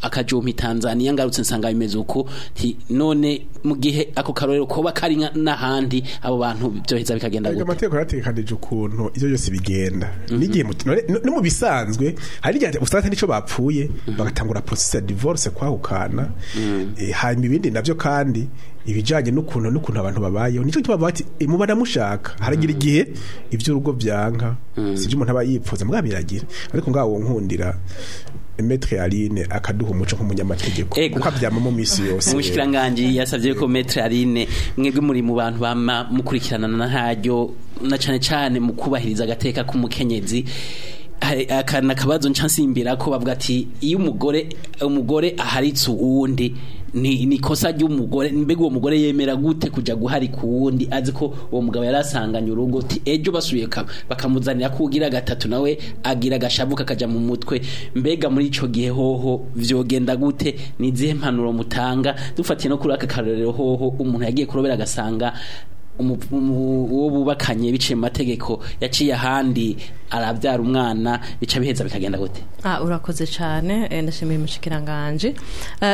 akajompa Tanzania ngarutse nsanga bimeze uko. Nti none mu gihe ako karorero koba kari n'ahandi abo bantu byoheza bikagenda Erega gute? Amategeko yarategekanije ukuntu ivyo byose bigenda n'igihe no mu bisanzwe hari igihe usanga nico bapfuye bagatangura process ya divorce, kwahukana. Hanyuma ibindi navyo kandi ibijanye n'ukuntu abantu babayeho, nico gituma bavuga ati muba namushaka. Haragira igihe ivy'urugo vyanka, sivyo umuntu aba yipfuza mbwa biragira, ariko ngaho nkundira Maître Aline akaduha umuco nk'umunyamategeko Ego. kuko avyama mu misi yose. Umushikiranganji yasavye ko Maître Aline, mwebwe muri mu bantu bama mukurikirana na ntaryo na cane cane mu kubahiriza agateka k'umukenyezi. Hari akana kabazo nca nsimbira ko bavuga ati iyo umugore aharitse uwundi ni kosa ry'umugore. Mbega uwo mugore yemera gute kuja guharika uwundi azi ko uwo mugabo yarasanganye urugo? Ti ejo basubiye bakamuzanira ko ugira gatatu nawe agira agashavu kakaja mu mutwe. Mbega muri ico gihe hoho vyogenda gute? Ni izihe mpanuro mutanga dufatiye no kuri aka karorero hoho umuntu yagiye kurobera agasanga uwo bubakanye biciye mu mategeko yaciye ahandi arabyara umwana, bica biheza bikagenda gute? Ah, urakoze cyane, ndashimiye umushikiranganje.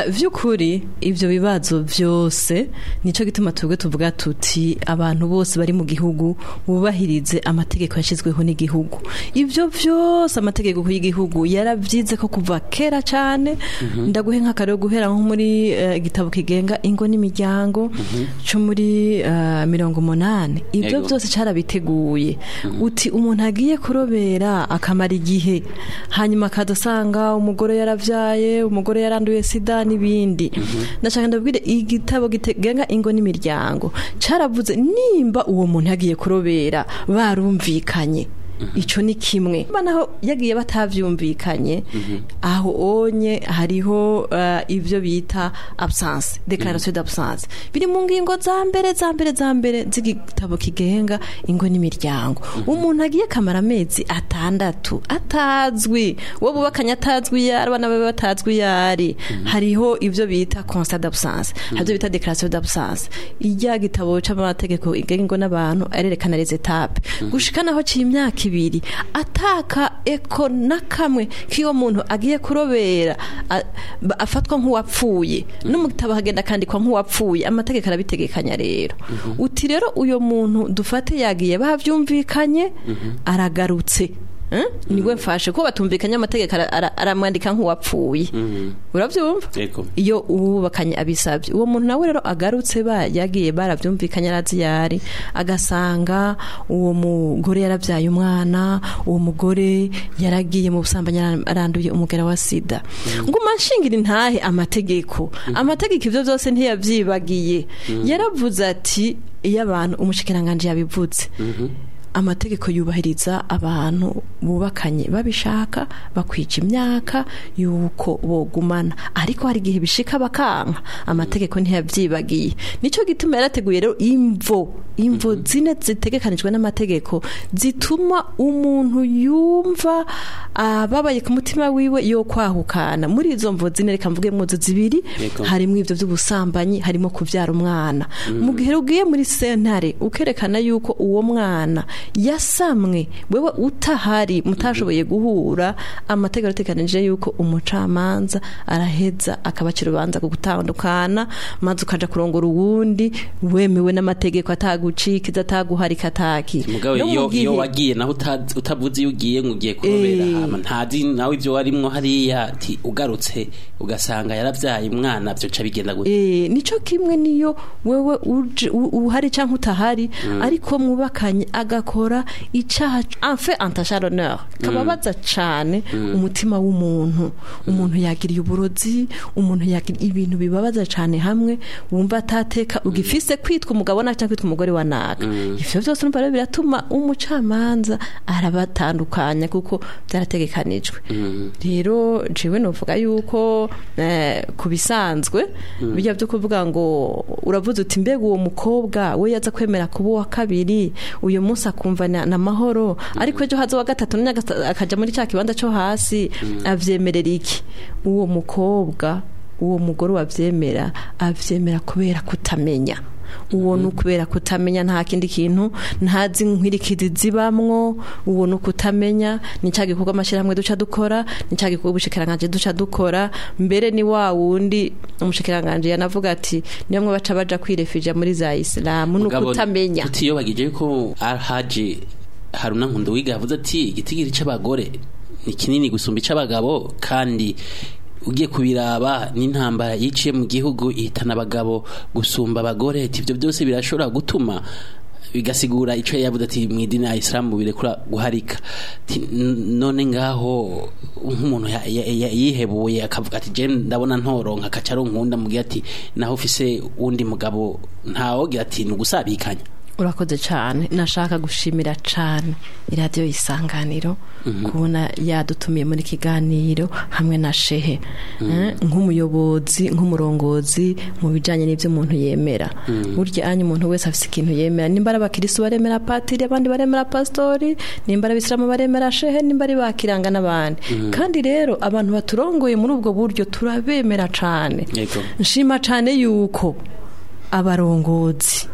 Vy'ukuri ivyo bibazo vyose nico gituma twebwe tuvuga tuti abantu bose bari mu gihugu bubahirize amategeko yashizweho n'igihugu. Ivyo vyose amategeko y'igihugu yaravyize ko kuva kera cyane. Ndaguhe nk'akarero guhera nko muri igitabo kigenga ingo n'imiryango cyo muri 80, ivyo Yego. byose carabiteguye. Uti umuntu agiye kurobera akamara igihe, hanyuma akadasanga umugore yaravyaye, umugore yaranduye sida n'ibindi. Ndashaka ndabwire igitabo gitegenga ingo n'imiryango caravuze nimba uwo muntu yagiye kurobera barumvikanye, ico ni kimwe. Niba naho yagiye batavyumvikanye, aho onye hariho ivyo bita absence, déclaration d'absence, biri mu ngingo za mbere za mbere za mbere z'igitabo kigenga ingo n'imiryango. Umuntu agiye kamara amezi 6 atazwi, uwo bubakanye atazwi yari, abana babe batazwi yari, hariho ivyo bita constat d'absence, hari ivyo bita déclaration d'absence. Irya gitabo c'amategeko igenga ingo n'abantu arerekana les étapes gushika naho c'imyaka 2 ataka eko na kamwe k'iyo muntu agiye kurobera afatwa nk'uwapfuye, no mu gitabo hagenda akandikwa nk'uwapfuye. Amategeko arabitegekanya. Rero uti rero uyo muntu dufate yagiye bavyumvikanye, aragarutse. Niwe mfashe ko batumvikanye, amategeko aramwandika nk'uwapfuye, uravyumva? Yego. Iyo uwubakanye abisabye, uwo muntu nawe rero agarutse ba yagiye baravyumvikanye, arazi yari, agasanga uwo mugore yarabyaye umwana, uwo mugore yaragiye mu busambanyi, aranduye umugera wa sida. Nguma nshingira intahe amategeko ivyo byose ntiyavyibagiye. Yaravuze ati iyo abantu, umushikiranganje yabivutse, amategeko yubahiriza abantu bubakanye babishaka bakwica imyaka yuko bogumana, ariko hari igihe bishika bakanka, amategeko ntiyavyibagiye. Nico gituma yarateguye rero imvo zine zitegekanijwe n'amategeko zituma umuntu yumva ababaye ku mutima wiwe yo kwahukana. Muri izo mvo zine, reka mvuge mwozo zibiri. Yego. Harimo ivyo by'ubusambanyi, harimo kuvyara umwana. Mu gihe ugiye muri sentare ukerekana yuko uwo mwana yasamwe wewe utahari, mutashoboye guhura, amategeko arategekanije yuko umucamanza araheza akabacira urubanza ku gutandukana, maze ukaja kurongora uwundi wemewe n'amategeko, atagucikiza, ataguharika, ataki. Mugabo No mu iyo gihe- wagiye naho utavuze iyo ugiye ngo ugiye kurobera, hama ntazi nawe ibyo warimwo hariya, ati ugarutse ugasanga yaravyaye umwana, vyoca bigenda gute? Nico kimwe niyo wewe uhari canke utahari, ariko mwubakanye agakora icaha, en fait entache à l'honneur, kababaza cane umutima w'umuntu. Umuntu yagiriye uburozi, umuntu yagiriye ibintu bibabaza cane, hamwe wumva atateka ugifise kwitwa umugabo na cyangwa kwitwa umugore wa naka. Ivyo vyose urumva rero biratuma umucamanza arabatandukanya kuko byarategekanijwe. Rero jewe novuga yuko ku bisanzwe bijya byo kuvuga ngo uravuze uti mbega uwo mukobwa we yaza kwemera kuba uwa kabiri uyu munsi akumva na mahoro, ariko ejo haza uwa gatatu none akaja muri cya kibanza cyo hasi, avyemerera iki uwo mukobwa? Uwo mugore wavyemera, avyemera kubera kutamenya. Uwo ni ukubera kutamenya, nta kindi kintu, ntazi nkwirikizi zibamwo. Uwo ni ukutamenya. Ni cya gikorwa amashyirahamwe duca dukora, ni cya gikorwa ubushikiranganji duca dukora. Mbere ni wa wundi umushikiranganji yanavuga ati niyo mwe baca baja kwirefija muri za isilamu. Ni Mugabo, ukutamenya. Tutiyobagije yuko Alhaji Haruna Nkunduwiga yavuze ati igitigiri c'abagore ni kinini gusumba ic'abagabo, kandi ugiye kubiraba n'intambara yiciye mu gihugu ihitana abagabo gusumba abagore. Ati ivyo byose birashobora gutuma bigasigura ico yavuze ati mu idini ya Islam birekura guharika. Ati, none ngaho nk'umuntu yihebuye akavuga ati je ndabona ntoronka akaca aronkunda, mugihe ati naho ufise uwundi mugabo ntawogira ati ni ugusabikanya. Urakoze cyane. Nashaka gushimira cyane iradiyo Isanganiro kubona yadutumiye muri kiganiro hamwe na shehe. Nk'umuyobozi, nk'umurongozi mu bijyanye n'ibyo umuntu yemera. Burya anya umuntu wese afite ikintu yemera. Nimba ari abakirisu baremera patiri, abandi baremera pasitori, nimba ari abisilamu baremera shehe, nimba ari bakiranga n'abandi. Kandi rero abantu baturongoye muri ubwo buryo turabemera cyane. Nshima cyane yuko abarongozi,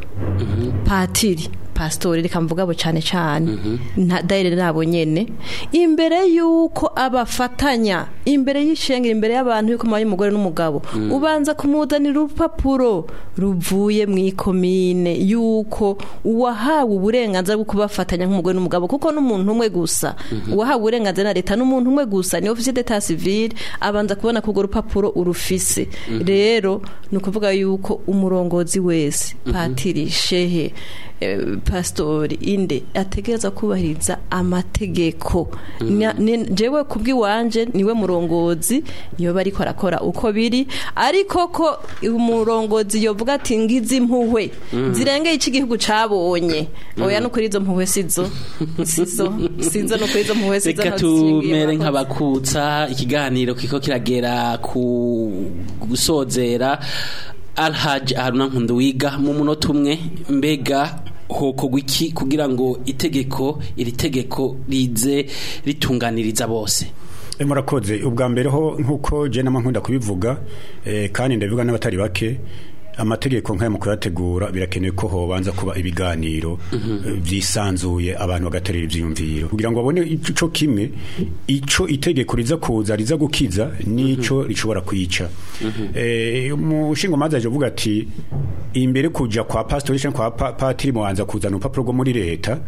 patiri, pasitori, reka mvuga abo cyane cyane, nta dayire nabo nyene, imbere yuko abafatanya imbere y'ishengero, imbere y'abantu, yuko mubaye umugore n'umugabo, ubanza kumuzanira urupapuro ruvuye mu ikomine yuko uwahawe uburenganzira bwo kubafatanya nk'umugore n'umugabo, kuko n'umuntu umwe gusa uwahawe uburenganzira na leta, n'umuntu umwe gusa ni officier d'état civil, abanza kubona ko urwo rupapuro urufise. Rero ni ukuvuga yuko umurongozi wese, patiri, shehe, pastori, inde, ategereza kubahiriza amategeko. Jewe kubw'iwanje niwe murongozi yoba ariko arakora uko biri, ariko ko umurongozi yovuga ati ngize impuhwe zirengeye ico igihugu cabonye, oya, no kuri izo mpuhwe sizo, sizo, sizo, no kuri izo mpuhwe sizo. Reka ntaho zishingiye. tumere Murakoze. nk'abakutsa ikiganiro kiko kiragera ku gusozera. Alhaji Haruna Nkunduwiga, mu munota umwe, mbega hokorwa iki kugira ngo itegeko iri tegeko rize ritunganiriza bose? Murakoze. Ubwa mbere ho, nkuko je nama nkunda kubivuga, kandi ndabivuga n'abatari bake, amategeko nk'aya mu kuyategura birakenewe ko hobanza kuba ibiganiro vyisanzuye, abantu bagaterera ivyiyumviro kugira ngo babone ico kimwe, ico itegeko riza kuza riza gukiza n'ico rishobora kwica. Umushingamanza aje avuga ati imbere kuja kwa pastori canke kwa patiri mubanza kuzana urupapuro rwo muri leta.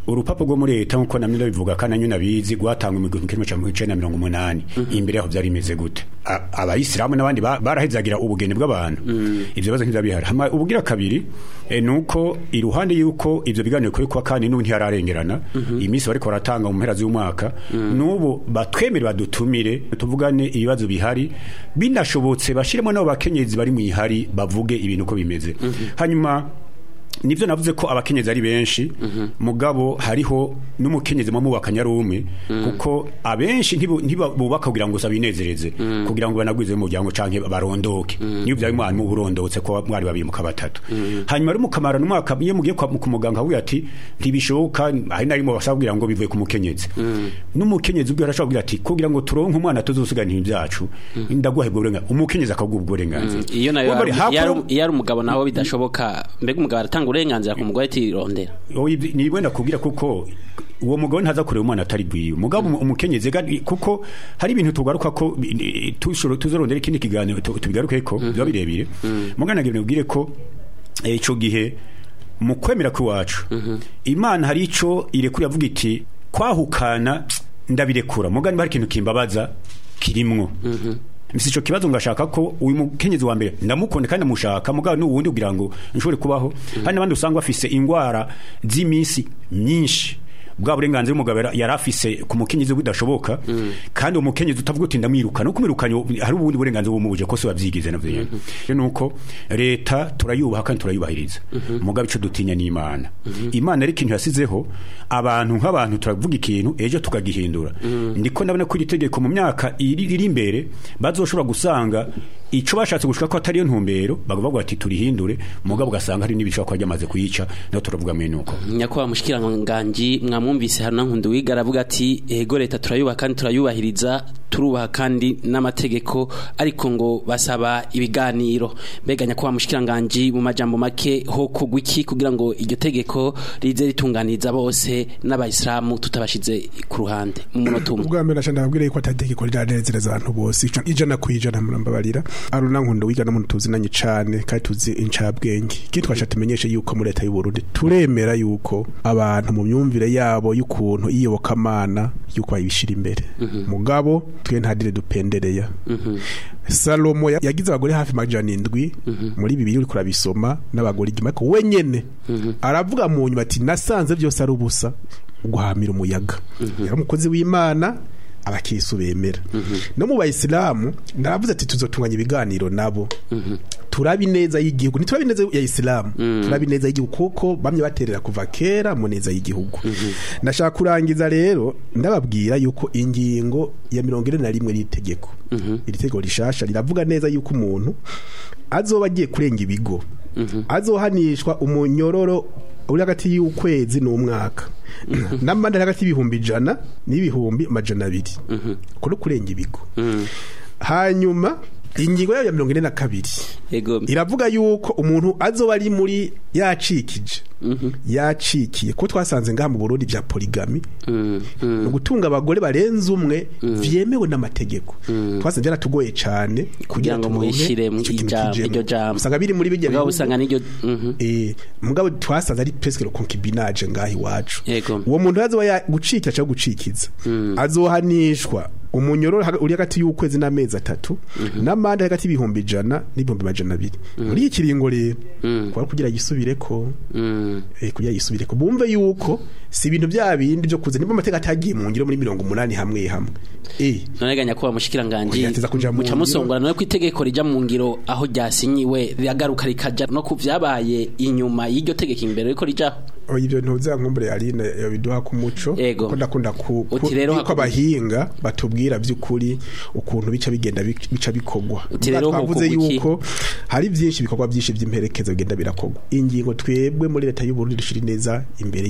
Urupapuro rwo muri leta, nkuko namwe ndabivuga kandi nanyu nabizi, rwatangwa mu 1980. Imbere yaho byari bimeze gute? Abayisilamu n'abandi barahezagira ubugeni bw'abantu, ivyo bibazo ntibyabihari. Hama ubugira kabiri, nuko iruhande yuko ivyo biganiro kuri kwa kandi n'ubu ntiyararengerana iminsi bariko baratanga mu mpera z'umwaka, n'ubu batwemere badutumire tuvugane ibibazo bihari, binashobotse bashiremo n'abo bakenyezi bari mu ihari bavuge ibintu uko bimeze. Hanyuma nivyo navuze ko abakenyezi ari benshi, mugabo hariho n'umukenyezi mu mubakanya ari umwe, kuko abenshi ntibubaka kugira ngo sabinezereze, kugira ngo banagwize mu muryango canke barondoke. Niyo byari mwana mu burondotse ko mwari babiri mukaba batatu, hanyuma ari mukamara n'umwaka, iyo mugiye kwa ku muganga avuga ati ntibishoboka, hari narimo basaba kugira ngo bivuye ku mukenyezi. N'umukenyezi ubwo arashobora kugira ati kugira ngo turonke umwana tuzosigana ibintu byacu, ndaguha ubwo burenganzira, umukenyezi akaguha ubwo burenganzira. Iyo nayo Urumva iyo ari umugabo naho bidashoboka, mbega umugabo aratanga uburenganzira ku mugore ati rondera? Oya, ni wenda kubwira kuko uwo mugabo ntaza kureba umwana atari gwiwe, mugabo umukenyezi kuko hari ibintu tugaruka ko tuzorondera ikindi kiganiro tubigaruke ko biba birebire. Mugana ngira nibwire ko ico gihe mu kwemera kw'iwacu Imana hari ico irekura, yavuga iti kwahukana ndabirekura, mugani hari ikintu kimbabaza kirimwo. Mfise ico kibazo, ngashaka ko uyu mukenyezi wa mbere ndamukunda kandi ndamushaka, mugabo n'uwundi kugira ngo nshobore kubaho. Hari n'abandi usanga bafise ingwara z'iminsi myinshi, bwa burenganzira umugabo yari afise ku mukenyezi budashoboka, kandi umukenyezi utavuga uti ndamwirukana, uko umwirukanye hari ubundi burenganzira bumubuje ko se wabyigize navyo nyene. Rero nuko leta turayubaha kandi turayubahiriza, mugabo ico dutinya ni Imana. Imana ari ikintu yasizeho abantu, nk'abantu turavuga ikintu ejo tukagihindura. Ndiko ndabona ko iri tegeko mu myaka iri imbere bazoshobora gusanga Ico bashatse gushika ko atari yo ntumbero, bagavuga ati turihindure, mugabo ugasanga hari n'ibishobora kuba ryamaze kuyica, naho turavuga mwene uko. Nyakubahwa mushikiranganji, mwamwumvise hano Nkunduwiga aravuga ati ego leta turayubaha kandi turayubahiriza, turubaha kandi n'amategeko, ariko ngo basaba ibiganiro. Mbega nyakubahwa mushikiranganji, mu majambo make ho kugwa iki kugira ngo iryo tegeko rize ritunganiriza bose n'abayisilamu tutabashize ku ruhande, mu munota umwe? Ubwa mbere naca ndababwira yuko atategeko riranezereza abantu bose 100% murambabarira. Aruna Nkunduwiga n'umuntu tuzinanye cane kandi tuzi incabwenge. Ikindi twasha tumenyeshe yuko muri leta y'u Burundi turemera yuko abantu mu myumvire yabo y'ukuntu iyobokamana yuko bayibishira imbere, mugabo twe ntadire dupendereya. Salomo yagize abagore hafi 700 muri Bibiliya, uriko urabisoma, n'abagore igima, ariko wenyene aravuga mu nyuma ati nasanze byose ari ubusa, guhamira umuyaga. Yari umukozi w'Imana, abakirisu bemera. No mu bayisilamu naravuze ati tuzotunganya ibiganiro nabo, turabi neza y'igihugu, ntiturabi neza ya isilamu, turabi neza y'igihugu, kuko bamye baterera kuva kera mu neza y'igihugu. Ndashaka kurangiza rero ndababwira yuko ingingo ya 41 y'itegeko, iri tegeko rishasha riravuga neza yuko umuntu azoba agiye kurenga ibigo azohanishwa umunyororo uri hagati y'ukwezi n'umwaka n'amande ari hagati y'100,000 n'200,000 kuri kurenga ibigo. Hanyuma ingingo yayo ya 42 Ego. iravuga yuko umuntu azoba ari muri yacikije, yacikiye, ko twasanze ngaha mu Burundi bya polygamy, ni ugutunga abagore barenze umwe, vyemewe n'amategeko. Twasanze byaratugoye cane Kugira ngo turonke mubishire mu ico kintu kijemwo. Iryo jambo. Usanga biri muri bijya Mugabo bihugu. usanga n'iryo Mugabo twasanze ari presque le concubinage ngaha iwacu. Yego. Uwo muntu azoba gucikira cyangwa gucikiza azohanishwa umunyororo uri hagati y'ukwezi n'amezi 3 n'amande hagati y'100,000 n'200,000 muri iki kiringo. Rero kwa kugira yisubireko, kugira yisubireko, bumve yuko si ibintu bya bindi byo kuza niba amateka atagiye mu ngiro muri 80 hamwe hamwe. None ga nyakubahwa mushikiranganji, Oya, ateza kuja mu muca ngiro. musongora none ko itegeko rija mu ngiro aho ryasinyiwe riragaruka rikaja no ku vyabaye inyuma y'iryo tegeko imbere riko rijaho? Oya, ibyo ntuzankumbure Aline biduha ku muco, Ego. ko ndakunda ku Uti rero yuko abahinga batubwira by'ukuri ukuntu bica bigenda bica bikogwa. Uti rero Twavuze hokorwa iki? yuko hari byinshi bikorwa byinshi by'imperekeza bigenda birakogwa. Ingingo twebwe muri leta y'u Burundi dushira neza imbere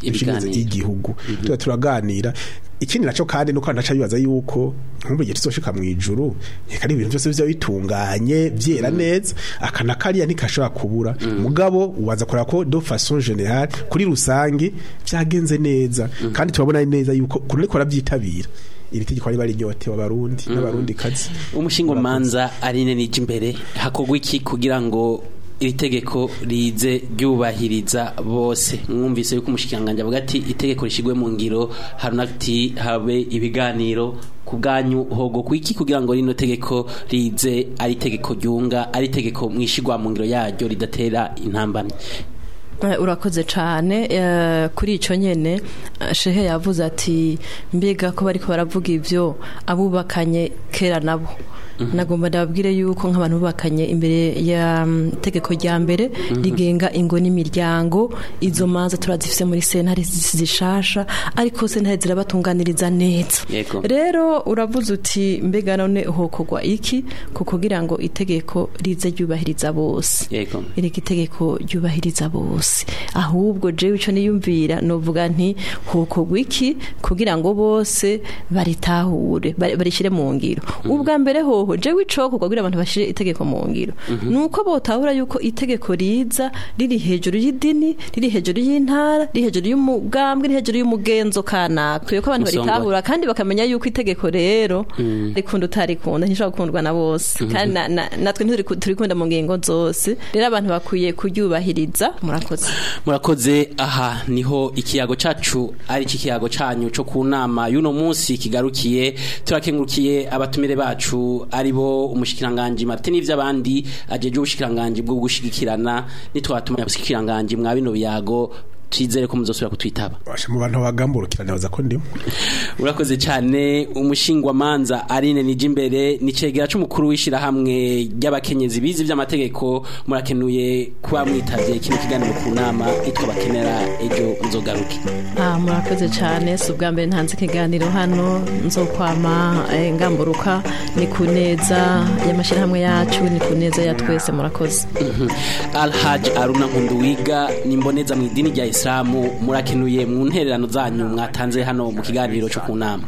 Ibiganiro. y'igihugu, tuba turaganira. Ikindi naco kandi nuko naca bibaza yuko nkumbe igihe tuzoshika mu ijuru reka ari ibintu byose bizoba bitunganye byera neza, akana kariya ntikashobora kubura, mugabo ubaza kureba ko de façon générale, kuri rusangi byagenze neza, kandi turabona neza yuko kuri ariko barabyitabira iri tegeko riba riryotewe abarundi n'abarundi kazi. Umushingo manza Aline nije imbere, hakorwa iki kugira ngo iri tegeko rize ryubahiriza bose? Mwumvise yuko umushikiranganji avuga ati itegeko rishigwe mu ngiro, harunati habe ibiganiro. Ku bwanyu hogo kwiki kugira ngo rino tegeko rize ari itegeko ryunga, ari itegeko mwishigwa mu ngiro yaryo ridatera intambamyi? Urakoze cane. Kuri ico nyene, shehe yavuze ati mbega ko bariko baravuga ivyo abubakanye kera nabo. Nagomba ndababwire yuko nk'abantu bubakanye imbere ya tegeko rya mbere rigenga ingo n'imiryango, izo manza turazifise muri sentare zishasha, ariko sentare zirabatunganiriza neza. Yego. Rero uravuze uti mbega none hokorwa iki ku kugira ngo itegeko rize ryubahiriza bose? Yego. Erega itegeko ryubahiriza bose, ahubwo jewe ico niyumvira novuga nti hokorwa iki kugira ngo bose baritahure, barishire mu ngiro? Ubwa mbere hoho jewe icokorwa kugira abantu bashire itegeko mu ngiro nuko botahura yuko itegeko riza riri hejuru y'idini, riri hejuru y'intara, riri hejuru y'umugambwe, riri hejuru y'umugenzo kanaka. Yuko abantu Musongore. baritahura kandi bakamenya yuko itegeko rero rikunda utarikunda, ntishobora gukundwa na bose, kandi natwe turikunda mu ngingo zose. Rero abantu bakwiye kuryubahiriza. Murakoze. Murakoze. Aha niho ikiyago cacu ari ikiyago canyu co ku nama y'uno munsi kigarukiye. Turakengurukiye abatumire bacu, ari bo umushikiranganji Martin ivy'abandi ajeje ubushikiranganji bwo gushigikirana, nitwatuma abashikiranganji mwa bino biyago. Twizere ko muzosubira kutwitaba. Basha mu bantu bagamburukira nibaza ko ndimo. Urakoze cyane. Umushingwamanza Aline Nijimbere ni cegera c'umukuru w'ishirahamwe ry'abakenyezi bize ivy'amategeko, murakenuye kuba mwitavye kino kiganiro ku nama itwa bakenera. Ejo muzogaruke. Ah, murakoze cyane. Si ubwa mbere ntanze ikiganiro hano, nzokwama ngamburuka. Ni ku neza y'amashyirahamwe yacu, ni ku neza ya twese. Murakoze. Alhaj Aruna Nkunduwiga ni imboneza mu idini rya Islamu, murakenuye mu ntererano zanyu mwatanze hano mu kiganiro cyo ku nama.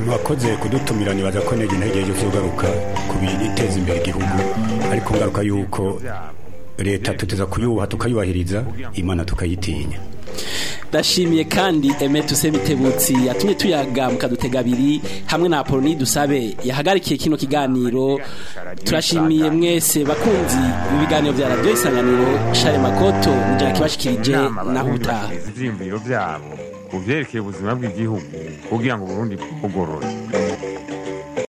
Mwakoze kudutumira. Nibaza ko nege intege yo kugaruka ku biteza imbere igihugu, ariko ngaruka yuko leta tuteza kuyubaha, tukayubahiriza, Imana tukayitinya. Ndashimiye kandi Aimé Toussaint yatumye tuyaga mukadutega abiri, hamwe na Apoloni Dusabe yahagarikiye kino kiganiro. Turashimiye mwese bakunzi b'ibiganiro bya Radio Isanganiro. Share Makoto nijya kibashikirije, naho utaha. Ivyiyumviro vyabo ku vyerekeye ubuzima bw'igihugu kugira ngo Burundi bugorore.